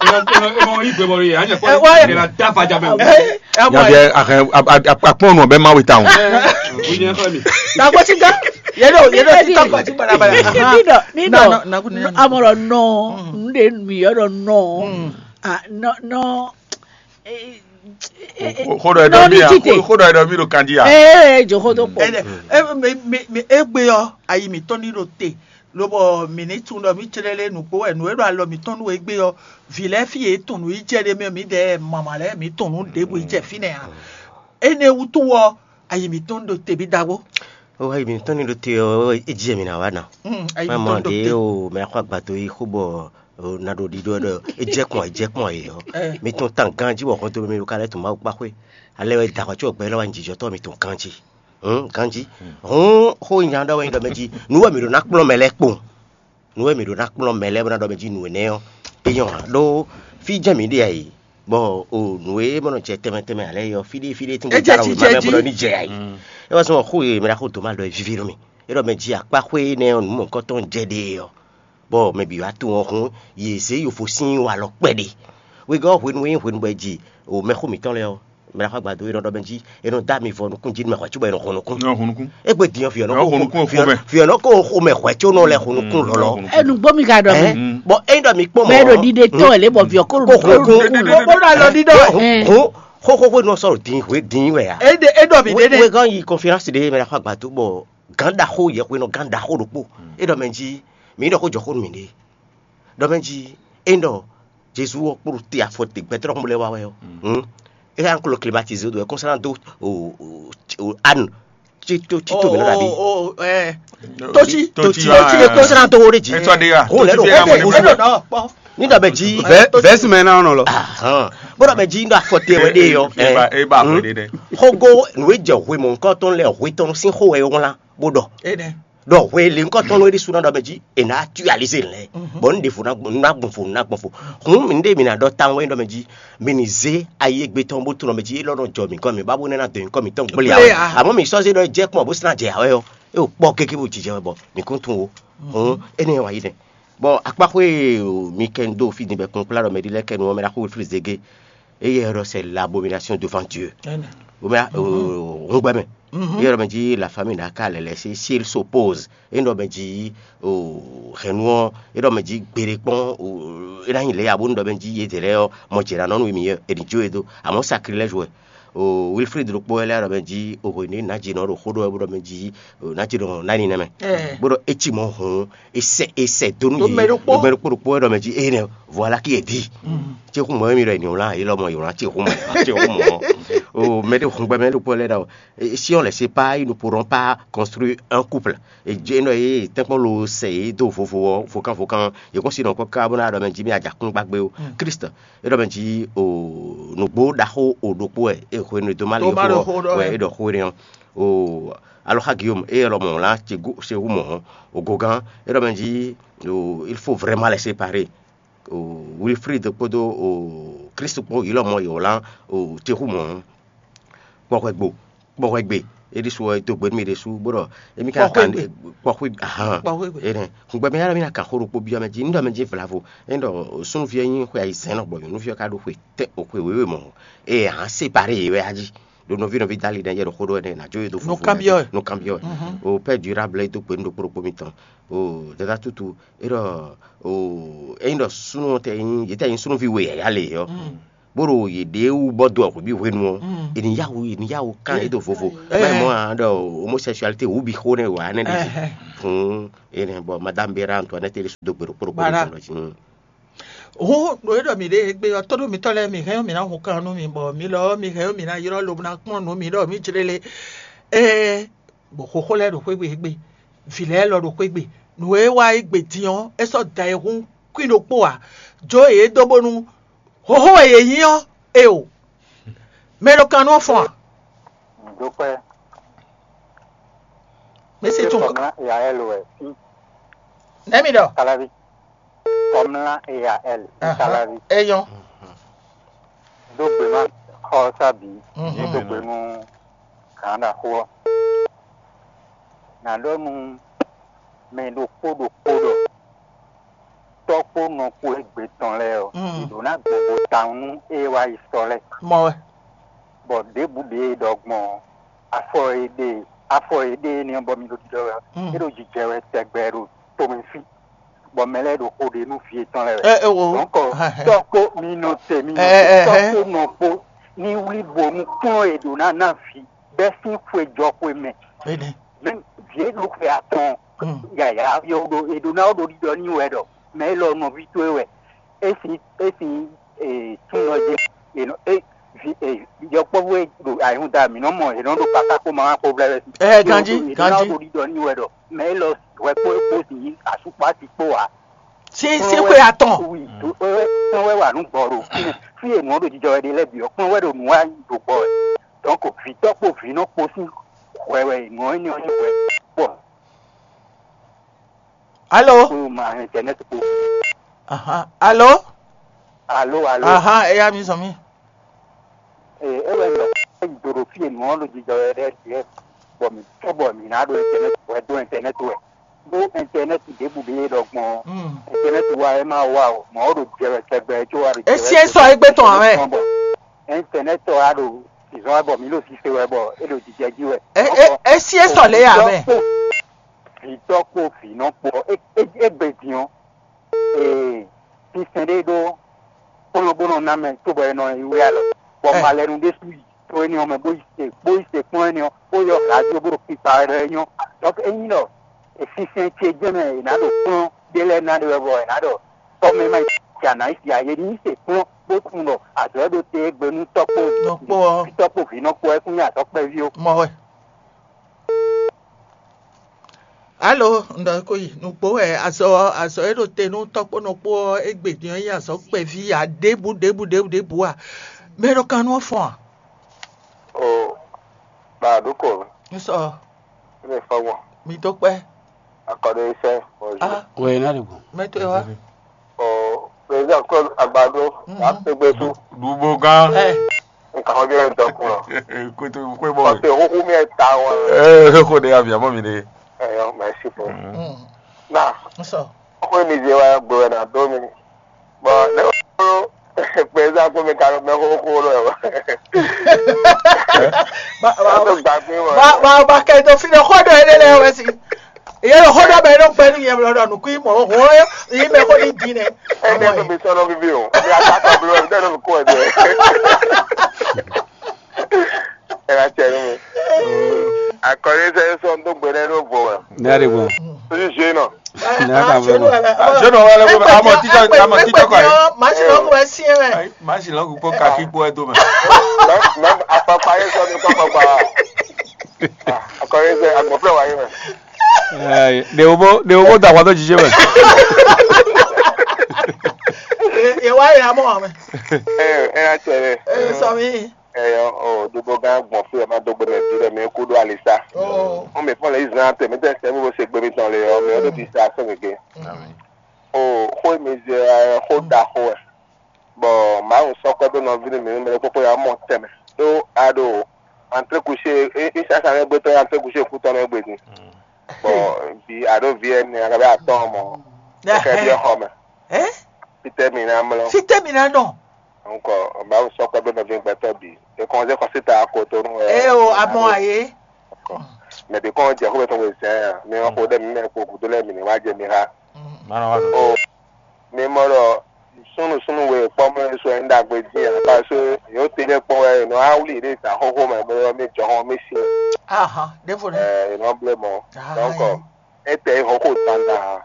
Ema yi gbɛ bɔ ye anya kɔ Ɛ, wa- de la da fa ja mɛ. Ɛ ɛ mɔ Yabi ɛ. Akpɔn nɔ bɛ ma we ta o. Wi nyɛ kɔ mi. Dagbo ti gán. Yɛ ɖo yɛ ɖo ti tɔ kpa ti balabala. Nidɔ nidɔ Na- na- na- na- amɔrɔ nɔ n de mi yɔrɔ nɔ a nɔ nɔ. Xo dɔ ɛdɔ mi a xo dɔ ɛdɔ mi ɖo kandi a. Ee joxo do kpɔ. Ɛnɛ ɛ mi mi mi egbe ɔ ayi mi tɔn ni ɖo te lobɔ mi ni tun ɖɔ mi tsere lé nukpo wɛ nu e ɖo alɔ mi tɔn nu egbe ɔ vi lɛ fi e tun nu yi jɛ ɖe mɛ mi ɖɛ mama lɛ mi tun nu ɖebu yi jɛ fi nɛ a ene wutu wɔ ayi mi tɔn ɖo te bi dagbo. Ó wá yi mi tɔn ni ɖo te ɔ é jí mi ná wá ná. Mm, ayi mi Má mɔ tɔn ɖo ɖe te. O mɛ xɔ agbato yi xó bɔ o na ɖo ɖiɖɔ ɖɔ é jɛ kpɔn é jɛ kpɔn yi ɔ. Ɛ. Mi tɔn tan ganji bɔ xɔntɔ mi ka lɛ tun Mawu kpa xwé. Ale wɛ da xɔ tso gbɛ lɔ wa jijɔ tɔ mi tɔn ganji. Hɔn ganji. Hɔn xó nya ɖɔ wɛ nyi ɖɔ mɛ jí. Nu wɛ mi ɖo ná kplɔn mɛ lɛ kpɔn. Nu wɛ mi ɖo ná kplɔn mɛ lɛ bɔ na ɖɔ mɛ jí nu nɛ ɔ. Eyɔn ɖo fi jɛ mi ɖe ayi. Bɔ o nu e mɔ nɔ jɛ tɛmɛ tɛmɛ ale yɔ fi ɖe fi ɖe tun E jɛ dara ji o jɛ ma ji. Bɔ ni jɛ ayi. E wa sɔn xó ye mi na xó to ma ɖɔ vivi nú mi. E ɖɔ mɛ jí akpa xwé nɛ ɔ nu mɔ kɔtɔn jɛ ɖe ɔ. Bɔ mɛ bǐ wá tunwun ɔ́ hún, yě zé yǒfo sín walɔ kpɛɖé. Wegɔ́ hwenu e nyí hwenu bɔ è ji o mɛxó mǐtɔn lɛ́ɛ ɔ́, mɛ ɖaxó agbado e nɔ ɖɔ mɛ jí è nɔ dó ami vɔ nukún jí nú mɛ hwɛ̌ cóbɔ è nɔ hun nukún. Nɔ hun nukún. Égbé din ɔ́, vǐ ɔ́ nɔ Nɔ hun kó nukún vǐ ɔ́- xomɛ. Vǐ ɔ́ nɔ kó xomɛ hwɛ̌ có nɔ lɛ́ hun nukún lɔlɔ́. Enu gbɔ mi ka ɖɔ mɛ. Ɛ, bɔn ényí ɖɔ mi kpɔ́n Mɛ ɖo mɔ̌, ɖiɖe tɔn ɛ lé bɔ vǐ ɔ́ kó Kó xo kó. Bó bó ɖo alɔ ɖiɖɔ ɛ. Ɛn. Hún xóxó hwenu ɔ́ sɔ́ ɖo din hwe din wɛ a. E ɖe e ɖɔ mi ɖe ɖe. Wegɔ́ yi conférence ɖé mɛ ɖaxó agbado bɔ gǎn ɖaxó yɛ hwenɔ gǎn ɖaxó ɖokpó. É ɖɔ mɛ jí mǐ ɖɔ xó jɔ xó nú mǐ ɖe. Ɖɔ mɛ jí é ɖɔ Jezu ɔ́ kpó ɖo te afɔ te gbɛtɔ́ ɖɔhun lɛ́ɛ wá wɛ ɔ́. Hǔn é ká nɔ klo climatiser dó wɛ kɔnsá ná dó o o o anu tí tó tí tó mǐ nɔ ɖaɖi. O o ɛ. Totsi Totsi, totsi e kɔnsá ná dó wo ɖe jí. Etsɔ ɖe ya. Hǔn lɛ́ ɖo Totsi ɖe ya xó mɔ ɖe Kɔnsá mɔ. dó nɔ kpɔ. Ní ɖɔ mɛ jí Vɛsi mɛ náà nɔ lɔ. Ahán. Bó ɖɔ mɛ jí ɖɔ afɔ te wɛ ɖe yɔ. Eba eba xɔ ɖe ɖe. Xógó nǔ e jɛ hwe mɔ̌hunkɔtɔn lɛ́ɛ hwetɔn sín xó wɛ é wlán bó ɖɔ. E nɛ. Ɖɔ hwe linkɔtɔn nɔ ɖi suna ɖɔ mɛ jí è nǎ actualiser lɛ bɔ n ɖe fo ná gbɔn fo ná gbɔn fo. Hun mi ɖe mi ná ɖɔ tan wɛ ɖɔ mɛ jí mi ní zé ayi egbe tɔn bó tunɔ mɛ jí é lɔ nɔ jɔ mi kɔ mi ba bó nɛ ná dɔ mi kɔ mi tɔn gblé Gblé awɛ. a. Amɔ mi sɔ́ zé ɖɔ jɛ kpɔn bó sina jɛ awɛ ɔ. E o kpɔ gege bó jijɛ wɛ bɔ mi kún tun wo. Hun ene wa yi nɛ. Bɔ akpaxwe mi kɛ n do fi din bɛ kún kplá ɖɔ mɛ ɖi lɛ kɛ nu ɔmɛ ɖaxó Wilfried Zege. Eye ɖɔ c'est l'abomination devant Dieu. Wome hungbɛ mɛ. Eye ɖɔ mɛ jí la famille n'a qu'à les laisser s'il s'oppose. E ɖɔ mɛ jí o hɛnu ɔ e ɖɔ mɛ jí gbeɖe kpɔn o e na nyi lɛ abo ɖɔ mɛ jí ye de lɛ ɔ mɔ jɛ na nɔnu mi yɛ e ni jo e do amɔ sacrilège wɛ. O Wilfried ɖokpó wɛ lɛ ɖɔ mɛ jí o hwe ne na jí nɔ ɖo xó ɖɔ wɛ bó ɖɔ mɛ jí o na jí nɔ nani nɛ mɛ. Bó ɖɔ etsi mɔ hun esɛ esɛ donu yi mɛ ɖokpó ɖokpó ɖokpó wɛ ɖɔ mɛ jí eye nɛ voilà qui est dit. Tsi xú mɔ mi ɖɔ yi ni wla yi lɔ mɔ yi wla tsi xú mɔ tsi xú mɔ. O mɛ ɖe hun gbɛ mɛ ɖokpó lɛ ɖɔ. Et si on ne les sépare, ils ne pourront pas construire un couple. E jɛ nɔ ye tɛnkpɔn lo sɛ ye do vovo ɔ vokan vokan ye kɔn si nɔ kɔ ka bó na ɖɔ mɛ jí mi adza kún gbagbe o Christ e ɖɔ mɛ jí o nugbo ɖaxó o ɖokpó ɛ e hwenu do ma le xó wɛ e ɖɔ xó ne ɔ o aloxa Guillaume e lɔ mɔ la ce gu ce wu mɔ o gogan e ɖɔ mɛ jí o il faut vraiment les séparer o Wilfried kpódó o Christ kpó yi lɔ mɔ yi o la o ce wu mɔ kpɔxwɛ gbo kpɔxwɛ gbe É ɖésú ɔ́, é dó gbe nú mì ɖésú, bó ɖɔ émí ka Kpɔxwé kan gbe. Kpɔxwé gbe. Ahan. Kpɔxwé gbe. Énɛ́. Hǔngbɛ mɛ yálɔ mì ná kan xó ɖokpó byɔ́ mɛ jí, un ɖɔ mɛ jí vlavo. É ɖɔ súnnu ví ɔ́ nyí xwe ayizɛ́n lɔ gbɔ nyɔ̌nu ví ɔ́ ka ɖó xwe tɛ́ xwe wěwe mɔ̌. É hǎn séparé yě wɛ a jí. Ɖo nɔví nɔví dali nɛ yɛ ɖo xó ɖó ɛnɛ ná jó yě dó Nú kanbyɔ́ wɛ. Nú kanbyɔ́ wɛ. O pɛ du rable é dó gbe nú ɖokpó ɖokpó mitɔn. O dada tútu é ɖɔ o é nyí ɖɔ súnnu tɛ nyí yě tɛ nyí súnnuví we yǎyá le ɔ́. Bó ɖo yěɖée wú bɔ dó ɔ̌ hwebǐ hwenu ɔ́, è nǐ yá wǔ è nǐ yá wǔ kán yě ɖo vovo. Má nyí mɔ̌ ǎ ɖɔ homosexualité wǔ bǐ xó nɛ́ wǎ nɛ́ ɖe jí. Hǔn énɛ́ bɔ Madame Béra Antoinette ɖésú dó gbe ɖokpó ɖokpó Voilà. Ɖo jí. Hǔn ɖo é ɖɔ mǐ ɖe égbé ɔ́, tóɖó mitɔ́ lɛ́ɛ mǐ hɛn ɔ́, mǐ ná hun kan nú mi, bɔ mi lɔ ɔ́, mi hɛn ɔ́, mǐ ná ylɔ́ lobo ná kplɔ́n nǔ mi ɖɔ mǐ jlé le. Ée bɔ xóxó lɛ́ɛ ɖo xwé gbe égbé, vǐ lɛ́ɛ lɔ ɖo xwé gbe, nǔ e wá égbé din ɔ́, é sɔ́ da e hún kwín ɖokpó ǎ. Jó yě dó bónú Hǒxo wɛ yě nyí ɔ́, eo, mɛ e ɖo kan nú ɔ́ fɔ́n a? Dókpɛ́. Mɛ se tún. Kɔmla E A L wɛ. Nɛ̌ mi ɖɔ? Kalavi. Kɔmla E A L. Kalavi. É nyɔ́. Dó gbe ná xɔ ɔ́ sá bǐ. Dó gbe nú gǎn ɖaxó ɔ́. Nǎ ɖɔ nú mɛ ɖokpó ɖokpó ɖɔ tɔ́ kpó nɔ kpó égbé tɔn lɛ́ɛ ɔ́, Mm. Yě ɖó ná gbɔn tawun nú ée wá yi sɔ lɛ́ɛ. Mɔ wɛ. Bɔ ɖěbǔ ɖě e ɖɔ gbɔn ɔ́, afɔ e ɖe afɔ e ɖe énɛ́ ɔ́ bɔ mi ɖo ɖiɖɔ wɛ ɔ́, Mm. É ɖo jijɛ wɛ tɛgbɛ ɖo tomɛ fí, bɔ mɛ lɛ́ɛ ɖo xo ɖe nú vǐ yětɔn lɛ́ɛ wɛ. Ɛ, ɛ, wo. Donc, Hɛn, hɛn. Tɔ́ kpó mi nɔ te mi nɔ Ɛ, ɛ, te ɛ, tɔ́ ɛ. Kpó nɔ kpó ní wlí bo nú kplɔ́n e ɖǒ ná ná vǐ bɛ́ sín xwe jɔ xwe mɛ. Énɛ́. Mɛ vǐ e ɖo xwe atɔn Mm. yǎyá ɔ́ ɖo e ɖó ná ɔ́ ɖo ɖiɖɔ n'i wɛ ɖɔ mɛ élɔ́ nɔví towe wɛ. É sín é sín ee, súnnu ɔ́ jí è nɔ é vi ee, yɔkpɔ́vú e ɖo ayihúnda mǐ nɔ mɔ è nɔ ɖo káká kpó ma wá kpó vlɛ́ wɛ sí. Ɛ, ganjí, È nɔ ná ganjí. Ɖo ɖiɖɔ n'i wɛ ɖɔ mɛ élɔ́ hwɛ kpó é kpó sin yí asú kpó asi kpó ǎ. Sí sí xwe atɔn. Wi tó é kplɔ́n wɛ wà nú gbɔ ɖo fínɛ́. Fí e nǔ ɔ́ ɖo jijɔ wɛ ɖe lɛ́ɛ bǐ ɔ́, kplɔ́n wɛ ɖo nǔ wa ɖo gbɔ wɛ. Donc vǐtɔ́ kpo vǐnɔ kpo sín hwɛ wɛ nǔ ɔ́ nyí ɔ́ nyí hwɛ. Bɔ Alo? Kpo ma internet kpo. Ahan. Alo? Alo, alo. Ahan, eya mi zɔn mi. Ee, é wɛ ɖɔ é do ɖo fí e nǔ ɔ́ ɖo jijɔ wɛ ɖɛ́ ɖíe, bɔ mǐ cóbɔ mǐ ná ɖo internet wɛ dó internet wɛ. Bó internet ɖěbǔ ɖé e ɖɔ gbɔn ɔ́, Mm. Internet wa é ma wa o, mɔ̌ ɔ́ ɖo jɛ wɛ tɛgbɛ có wa ɖo jɛ wɛ Esi é sɔ égbé tɔn ǎ wɛ. Bɔ internet ɔ́ wá ɖo zǐzɔ́n wɛ bɔ mǐ ɖo sise wɛ bɔ é ɖo jijɛ jí wɛ. E- e- Esi é sɔ lě ya mɛ. Vǐtɔ́ kpo vǐnɔ kpo ɔ́, é- é- égbé din ɔ́, ee, sinsɛn ɖé ɖó kplɔ́n bó nɔ ná mɛ cóbɔ è nɔ yi wlí alɔ, bɔ Ɛ. Malɛnu ɖésú yi to énɛ́ ɔ́ mɛ bó yi se bó yi se kplɔ́n énɛ́ ɔ́, bó yɔ hǎ jó bó ɖo kpikpa wɛ ɖɔ é nyɔ́. Donc ényí ɖɔ sinsɛn ce jɛ́n mɛ è nǎ ɖo kplɔ́n ɖé lɛ́ɛ ná ɖe wɛ bɔ è nǎ ɖɔ tɔ́ mɛ ma yi sia nǎ yi sia, yě ní se kplɔ́n bó tunwun ɖɔ azɔ̌ e ɖo te é gbe nú tɔ́ kpó Nɔ kpó ɔ́. Vǐtɔ́ kpó vǐnɔ kpó wɛ kún nyí azɔ̌ kpɛví ó. Mɔ wɛ. Alo, un ɖɔ ko yi nukpó wɛ azɔ azɔ e ɖo te nú tɔ́ kpó nɔ kpó ɔ́, égbé din ɔ́ nyí azɔ̌ kpɛví ǎ, ɖěbǔ ɖěbǔ ɖěbǔ ɖěbǔ a? Mɛ ɖo kan nú ɔ́ fɔ́n a? O, ba ɖo ko Un sɔ, ne fɔ gbɔn mi dó kpɛ́. Akɔɖe sɛ bɔ ju. Ah, Wɛ na ɖe gbɔn. Mɛ to e wa. O, président Claude Agbado Mhm. Wa tɛgbɛ su. Dubo gán. Ɛ, Nka xɔ jɛ dɔ kun lɔ. Koto kwe bɔ. Parce que huhu mi ta wa. Ee, ko de avi amɔ mi de. Ɛyɔ, merci beaucoup. Mm. Na, Un sɔ. Ko mi je wa gbɔ na do mi. Bon, ne ko président ko mi ka mɛ ko ko lo. Ba ba Ato gbàgbé wa. Ba ba ba kɛ to fi ne xɔ dɔ ele lɛ wɛ si. Ye lo xɔ dɔ bɛ no gbɛ ni yɛ lo dɔ nukui mɔ ho ye me ko ni di ne. Ɛ ne to mi sɔnɔ bibi o. Mi a ta ta blo, ne no ko e. Ɛ la tɛ no. Akɔri sɛ sɔ n to gbɛ ne no bo wa. Ne a de gbɔn. Ojú ṣe náà. Ne a ta blo nɔ. Ṣé nɔ wọlé kó a mọ títọ́ a mọ títọ́ kọ yìí? Màá ṣe lọ́kùn ẹ sí ẹ. Màá ṣe lọ́kùn kó kakí kó ẹ tó mẹ́. Mɛ afɔkpa yɛ sɔ mi kɔ kɔkɔ. Akɔri sɛ agbɔflɛ wa yi mɛ. Ɖe wo bó ɖe wo bó da wa tó jijé mɛ. Ye wa yi amɔ amɛ. Ɛ ɛ na tɛ lɛ. Ee sɔ mi. Ɛ ɔ o dobo gã gbɔn fún ɛ má dó gbé mɛ bí lɛ mɛ kú ɖó alisa. Oh. Wọn mɛ fún lɛ yìí zan tẹ mí tẹ sẹ bó ṣe gbé mi tán lé ọ mɛ ó dé bi sa sẹ gègé. O xó mi zɛ xó da xó ɛ. Bɔ Mawu sɔkpɛ ɖó nɔví nú mǐ mɛ kpókpó ya mɔ tɛmɛ ɖó a ɖo Antré kuché, é é sasa nɛ gbé tɔn antré kuché kú tɔn nɛ gbé din. Bɔn bi ado vi ɛnɛ a ka bɛ atɔn mɔ. Kɛ bi xɔ mɛ. Ɛ? Fitɛ mi na mlɔ. Fitɛ mi na nɔ. Nkɔ ba sɔ kɔ bɛ nɔvi gbɛtɔ bi. E kɔn se kɔ sita ko to nu. Ɛ o amɔ aye. Mɛ bi kɔn jɛ ko bɛ tɔn ko zɛn ya. Mi ma ko dɛ mi mɛ ko kudo lɛ mi ni wa jɛ mi ha. Mana wa do. Mi mɔ ɖɔ súnnu súnnu we kpɔ́ mɛ sɔ nyí ɖagbe dín ǎ, parce que yǒ te lɛ́ɛ kpɔ́n wɛ è nɔ wá wlí yěɖée ta xóxó mɛ bó ylɔ́ mì jɔhɔn mì sin. Ahan, ɖěvo nɛ́. Ɛ, è nɔ blé mɔ̌. Donc, é tɛ nyí hɔn xo dandan ǎ.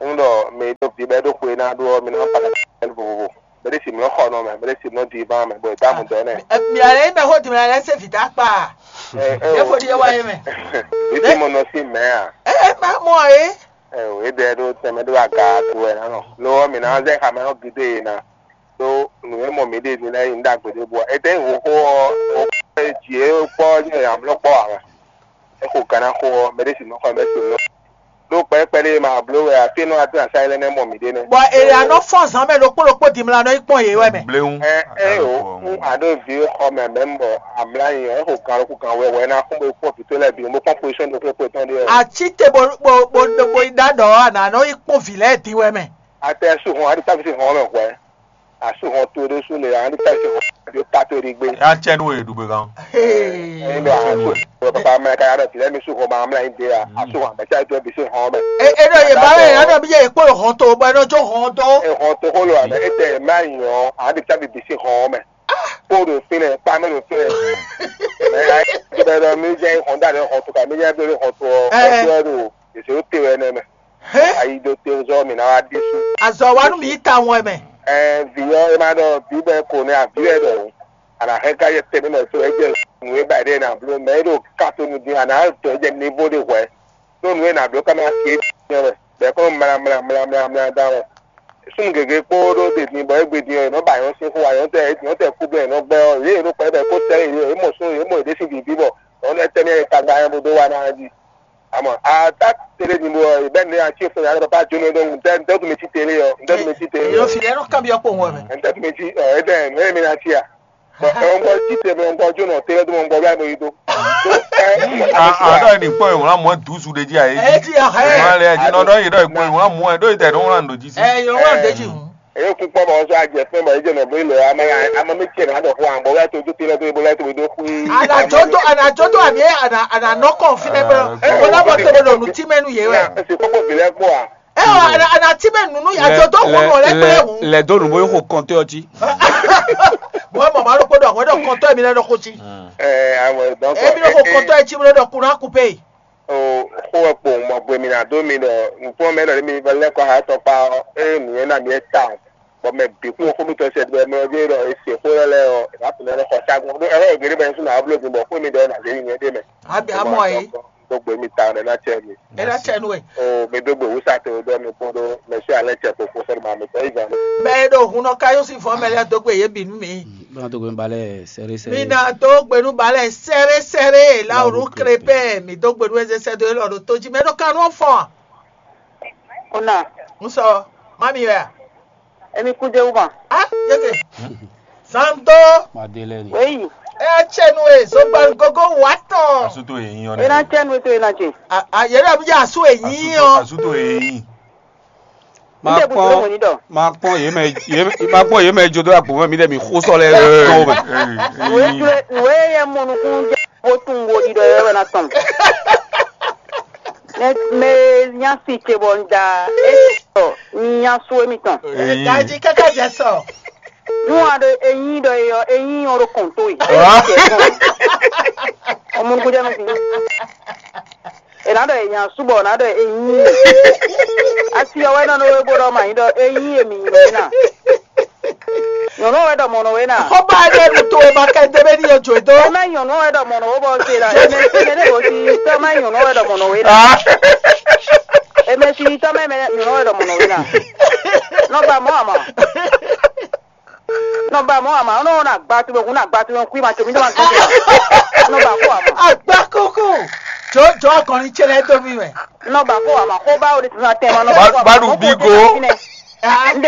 Ń ɖɔ mɛ e ɖo vǐ bɔ é ɖo xwe ná ɖó ɔ́, mi ná kpa kɛ́ vovovo. Mɛ ɖé si mlɔ́ xɔ nɔ mɛ, mɛ ɖé si mlɔ́ divan mɛ, bɔ è dó amu dɔ́ nɛ. Mia lɛ nyí mɛ xó dimɛ lɛ se vǐ dá kpa. Ɛ, ɛ, Ɖěvo ɖíe wá yé mɛ. Vǐ si mo nɔ sín mɛ̌ ǎ. Ɛ ɛ má mɔ é. Ɛ o, é ɖɛ ɖó tɛnmɛ ɖó aga to wɛ ná nɔ. Lo ɔ́, mǐ ná zɛ xamɛ ɔ́ gidé yě ná. Ɖó nǔ e mɔ mǐ ɖe din lɛ́ɛ nyí ɖagbe ɖěbǔ ǎ. Étɛ́ nyí hǒxo ɔ́, hǒxo e jǐ é kpɔ́ ɔ́ nyí amlɔ kpɔ́ ǎ wɛ. É xo gǎn ná xo ɔ́, mɛ ɖé si nɔ xɔ mɛ si nɔ. Ɖó kpɛ̌kpɛ́ ɖé ma bló wɛ ǎ, fí e nɔ wá dó asá lɛ́ɛ nɛ́ mɔ mǐ ɖe nɛ́. Bɔ è ɖě ná nɔ fɔ́n zǎn mɛ ɖokpó ɖokpó dimla nɔ yi kpɔ́n yě wɛ mɛ. Bléwu. Ɛ ɛ o, fún àɖó vǐ xɔ mɛ mɛ bɔ amlá nyi ɔ́, é xo gǎn ɖokpó gǎn wɛ wɛ ná kún bó kpɔ́n vǐ tó lɛ́ɛ bǐ, bó kpɔ́n pozíṣɔ́n ɖokpó kpó tɔn ɖé ɔ́. Aci te bó bó bó bó yi ɖá ɖɔ ɔ́, a nǎ nɔ yi kpɔ́n vǐ lɛ́ɛ din wɛ mɛ. Atɛ sú hɔn, a ɖi tábí sí hɔn mɛ hwɛ. A sú hɔn towe ɖésú le, a ɖi tábí sí hɔn ɖó ta towe ɖi gbé. Yá cɛ nú e ɖu gbé gán. Ee. Ɛyin ɖɔ a sú hɔn papa mɛ ka ya ɖɔ vǐ lɛ́ɛ mi sú hɔn ma mlá nyi dé a, a sú hɔn mɛ ká jɔ bǐ sí hɔn mɛ. E e ɖɔ yě ba wɛ yě ɖɔ bí yě kpó hɔn to bɔ é nɔ jó hɔn dó. E hɔn to xó lo àmɛ, e tɛ mlá nyi ɔ́, a ɖi tábí bǐ sí hɔn mɛ. Kpó ɖo fínɛ́, kpá mɛ ɖo fínɛ́. Mɛ a yi ɖɔ mi jẹ́ hɔn dá ɖe hɔn to ka, mi jẹ́ bí hɔn to ɔ́, hɔn to ɔ́ ɖo. Èsè ó te wɛ nɛ́ mɛ. Ayi ɖo te zɔ mǐ ná wá ɖésú. Azɔ wa nú mi yi ta wɔn mɛ. Ɛɛ vǐ ɔ́, é má ɖɔ vǐ bɔ é ko nɛ́ avǐ wɛ ɖɔhun. A nǎ hɛn ká yɛ tɛnmɛ mɛ so é jɛ nǔ e ba ɖe ná bló mɛ é ɖo katonu dín a nǎ dɔn jɛ nivo ɖé hwɛ̌. Ɖó nǔ e nǎ bló ká ná se é dín wɛ. Bɛ̌ kɔn mla mla mla mla mla da wɛ. Súnnu gěgé kpó ɖó ɖe din bɔ é gbe din ɔ́, è nɔ ba nyɔ̌ sín xó wa, nyɔ̌ tɛ nyɔ̌ tɛ kú bɛ́ è nɔ gbɛ́ ɔ́, yě è nɔ kpɛ̌ bɔ è kó sɛ́ yě, yě mɔ só yě mɔ yě ɖésú bǐ bɔ nyɔ̌ lɛ́ɛ tɛ́ nɛ́ è ka gba nyɛ bó dó wa ná jí. Amɔ ata tlé din bɔ bɛ́ nǔ ací fún yàrá bàbá jóná ɖó ŋu ntɛ́ ntɛ́ tún mi cí télé ɔ́, ntɛ́ tún mi cí télé Èèyàn ɔ́, fìlẹ́ nú kábíyá pò wọ́n mɛ. Ntɛ́ tún mi cí ɔ é dɛ́ nǔ e mi ná cí a? Bɔ ɔ́n gbɔ cí te bɔ ɔ́n gbɔ jóná télé tó mɔ gbɔ bláyi mo yí dó. Àdó ẹni kpɔ́n ìwọ̀n lámú ẹ̀ dùsù ɖe jí àyè Ẹ jí. Ti ọ̀ hẹ́. Ìwọ̀n alẹ́ ẹ̀ jí nọ́dọ́ yìí dọ́ ìpò ìwọ̀n lámú ẹ̀ dó ìtẹ̀ dó ńlá ńdó jí sí. Ẹ yọ wọ́n dé jì hùn. Èyí kún pọ́ bọ̀ ɔ́ sọ àjẹ fún bọ̀ ẹ̀jẹ̀ nọ̀ bóyá ilẹ̀ amọ̀ mi tiẹ̀ náà dọ̀ fún àbọ̀ wíwá tó tó télé tó ibo láti wédó fún. Ànàjọ́dọ́ ànàjọ́dọ́ àbí ànà ànà nọ́kàn fínlẹ̀ pé Ah, ó lábọ̀ tó lọ nù tí mẹ́nu yé wẹ̀. Ẹ sì kókó bìlẹ̀ pọ̀ à. Ẹ ọ̀ ànà ànà tí mẹ́nu nù àjọ tó kún nù ọ̀lẹ́ pé hùn. Lɛ do nubo yi xo kɔntɛ ɔtí. Bɔn ɛ mama ɖokpó ɖɔ hwɛ ɖɔ kɔntɔ mi lɛ ɖɔ xo tsi. Ɛ awɔ donc Ebi ɖɔ xo kɔntɔ ɛ tsi mi lɛ ɖɔ kun na kupe. O xó wɛ kpo mɔ gbe mi na do mi ɖɔ nukpɔn mɛ ɖɔ mi va lɛ kɔ ha tɔ kpa ɔ eye nuyɛ na mi ta bɔ mɛ bi kún xó mi tɔ sɛ bɛ mɛ ɔdi ɖɔ ese xó lɛ lɛ ɔ va tun lɛ xɔ sagun ɖo ɛlɛ gɛrɛ bɛ nsu na blo gbɔ xó mi ɖɔ na zeli nyɛ ɖe mɛ. Abi amɔ ye. Gbogbo mi ta ɖe na tsɛ mi. Ela tsɛ nu ye. O mi do gbe wusa te o dɔ mi kpɔn ɖo mɛ si alɛ tsɛ koko sɛ ma mi tɔ yi gan. Mɛ e ɖo hun nɔ ka yɔ si fɔ mɛ lɛ do gbe ye bi nu mi. Bana to gbe balɛ sɛre sɛre. Mi na do gbe nu balɛ sɛre sɛre la o nu krepɛ mi do gbe nu eze sɛ do elɔ ɖo to ji mɛ ɖo kan nu fɔ. Ona. N sɔ mami wɛ. Emi ku de wuma. Ah yeke. Santo. Madeleine. Weyi. E tsɛ nu e zogban gogo wa tɔn. Asuto eyin ɔ. Ena tsɛ nu to ena tsɛ. A a yɛrɛ bi asu eyin ɔ. Asuto eyin. N tɛ bu tolo mɔ ni dɔ. Ma kpɔn yé mɛ yé ma kpɔn yé mɛ jo do agbo mɛ mi dɛ mi xó sɔ lɛ tɔn mɛ. Nùwé ture nùwé yɛ mɔ nukun jɛ bó tún wo ɖiɖɔ yɛ wɛ na tɔn. Mɛ mɛ nya si ce bɔ n da e sɔ ni nya su emi tɔn. Daji kaka jɛ sɔ. Nua ɖo eyin ɖɔ eyɔ eyin ɔ ɖo kɔn to yi. Ɔmɔ nukun jɛ mi si. Ena ɖɔ enya subɔ na ɖɔ enyi asi ɔwɛ nɔ nɔ we bo ɖɔ ma nyi ɖɔ enyi emi nyi nɔ na. Nyɔnu ɔwɛ ɖɔ mɔnɔ we na. Xɔba ɖe nu to ma kɛ de be ni yɔ jo do. Ema nyɔnu ɔwɛ ɖɔ mɔnɔ we bɔ se la eme eme ne bo si tɔ ma nyɔnu ɔwɛ ɖɔ mɔnɔ we na. Eme si tɔ ma eme nyɔnu ɔwɛ ɖɔ mɔnɔ we na. Nɔ ba mɔ ama. Nɔ ba mɔ ama nɔ na gba tu bɛ kun na gba tu bɛ kun ma tso mi dɔ ma tso. Nɔ ba ko ama. Agba koko. Jo jo akɔni tse lɛ do mi mɛ. Nɔ ba ko ama ko ba o de tun na tɛ ma nɔ ba ko ama. Badu bigo. Nde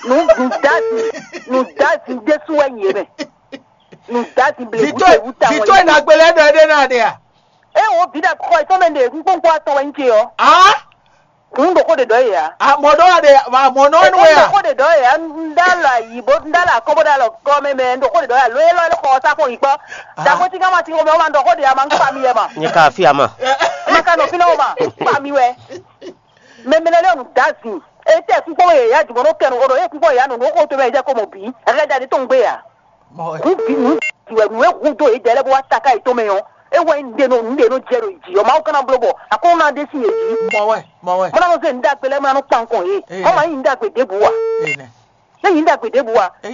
Nǔ nǔdázi nǔdázi ɖésú wɛ nyí yě mɛ. Nǔdázi blebu ɖe wú ta wɛ. Vito ìnagbélé ɖɔ ɛ ɖé náà ɖe à? É wo vǐ ɖe xɔ ìtɔn mɛ ɖe kpókpó atɔn wɛ nyí ce ɔ́. Á? Nǔ ɖokó ɖe ɖɔ yě ya. Àmọ́ ɖɔ wà ɖe àmọ́ náà nù wẹ̀ à? Ɖokó ɖe ɖɔ yě ya. Ńdá lɔ ayǐ bó ńdá lɔ akɔ́ bó ɖá lɔ gɔ́ mɛ mɛ ɖokó ɖe ɖɔ yě ya. Ló é lɔ é xɔ ɔ́ sá fún yǐ kpɔ́. Dàgbé tí ká ma ti xɔ mɛ wọ́n ma ɖɔ xó ɖe ya ma ń kpa mi yɛ ma. Nyɛ ka afi ama. Ma ka nɔ fínɛ́ wọ́n ma ń kpa mi wɛ. Mɛ mɛ lɛ́ɛ nǔdázi. Etɛ́ kúkpó yě ya jùmọ̀ nɔ kɛnu o ɖo é kúkpó yě ya nɔ nǔ xó to mɛ jẹ́ kó mɔ bǐ. Ɛkɛ da ɖi tó ń gbé ya. Mɔ wɛ. Nǔ bǐ nǔ bǐ wɛ nǔ e hu dó yě dɛɛ lɛ́ɛ bó wá taká yětɔn mɛ ɔ́, é wɛ nyí ɖe nɔ nǔ ɖe nɔ jɛ ɖo yě jí ɔ́. Mawu ka ná bló bɔ akɔ́nɔ ná ɖe sín yě jí. Mɔ wɛ, mɔ wɛ. Mɔ ná nɔ zé nǔ ɖagbe lɛ́ɛ mɔ ná nɔ kpan nukɔn yě. Ee. Mɔ ma nyí nǔ ɖagbe ɖěbǔ wa. Ee nɛ. É nyí nǔ ɖagbe ɖěbǔ wa. Ee.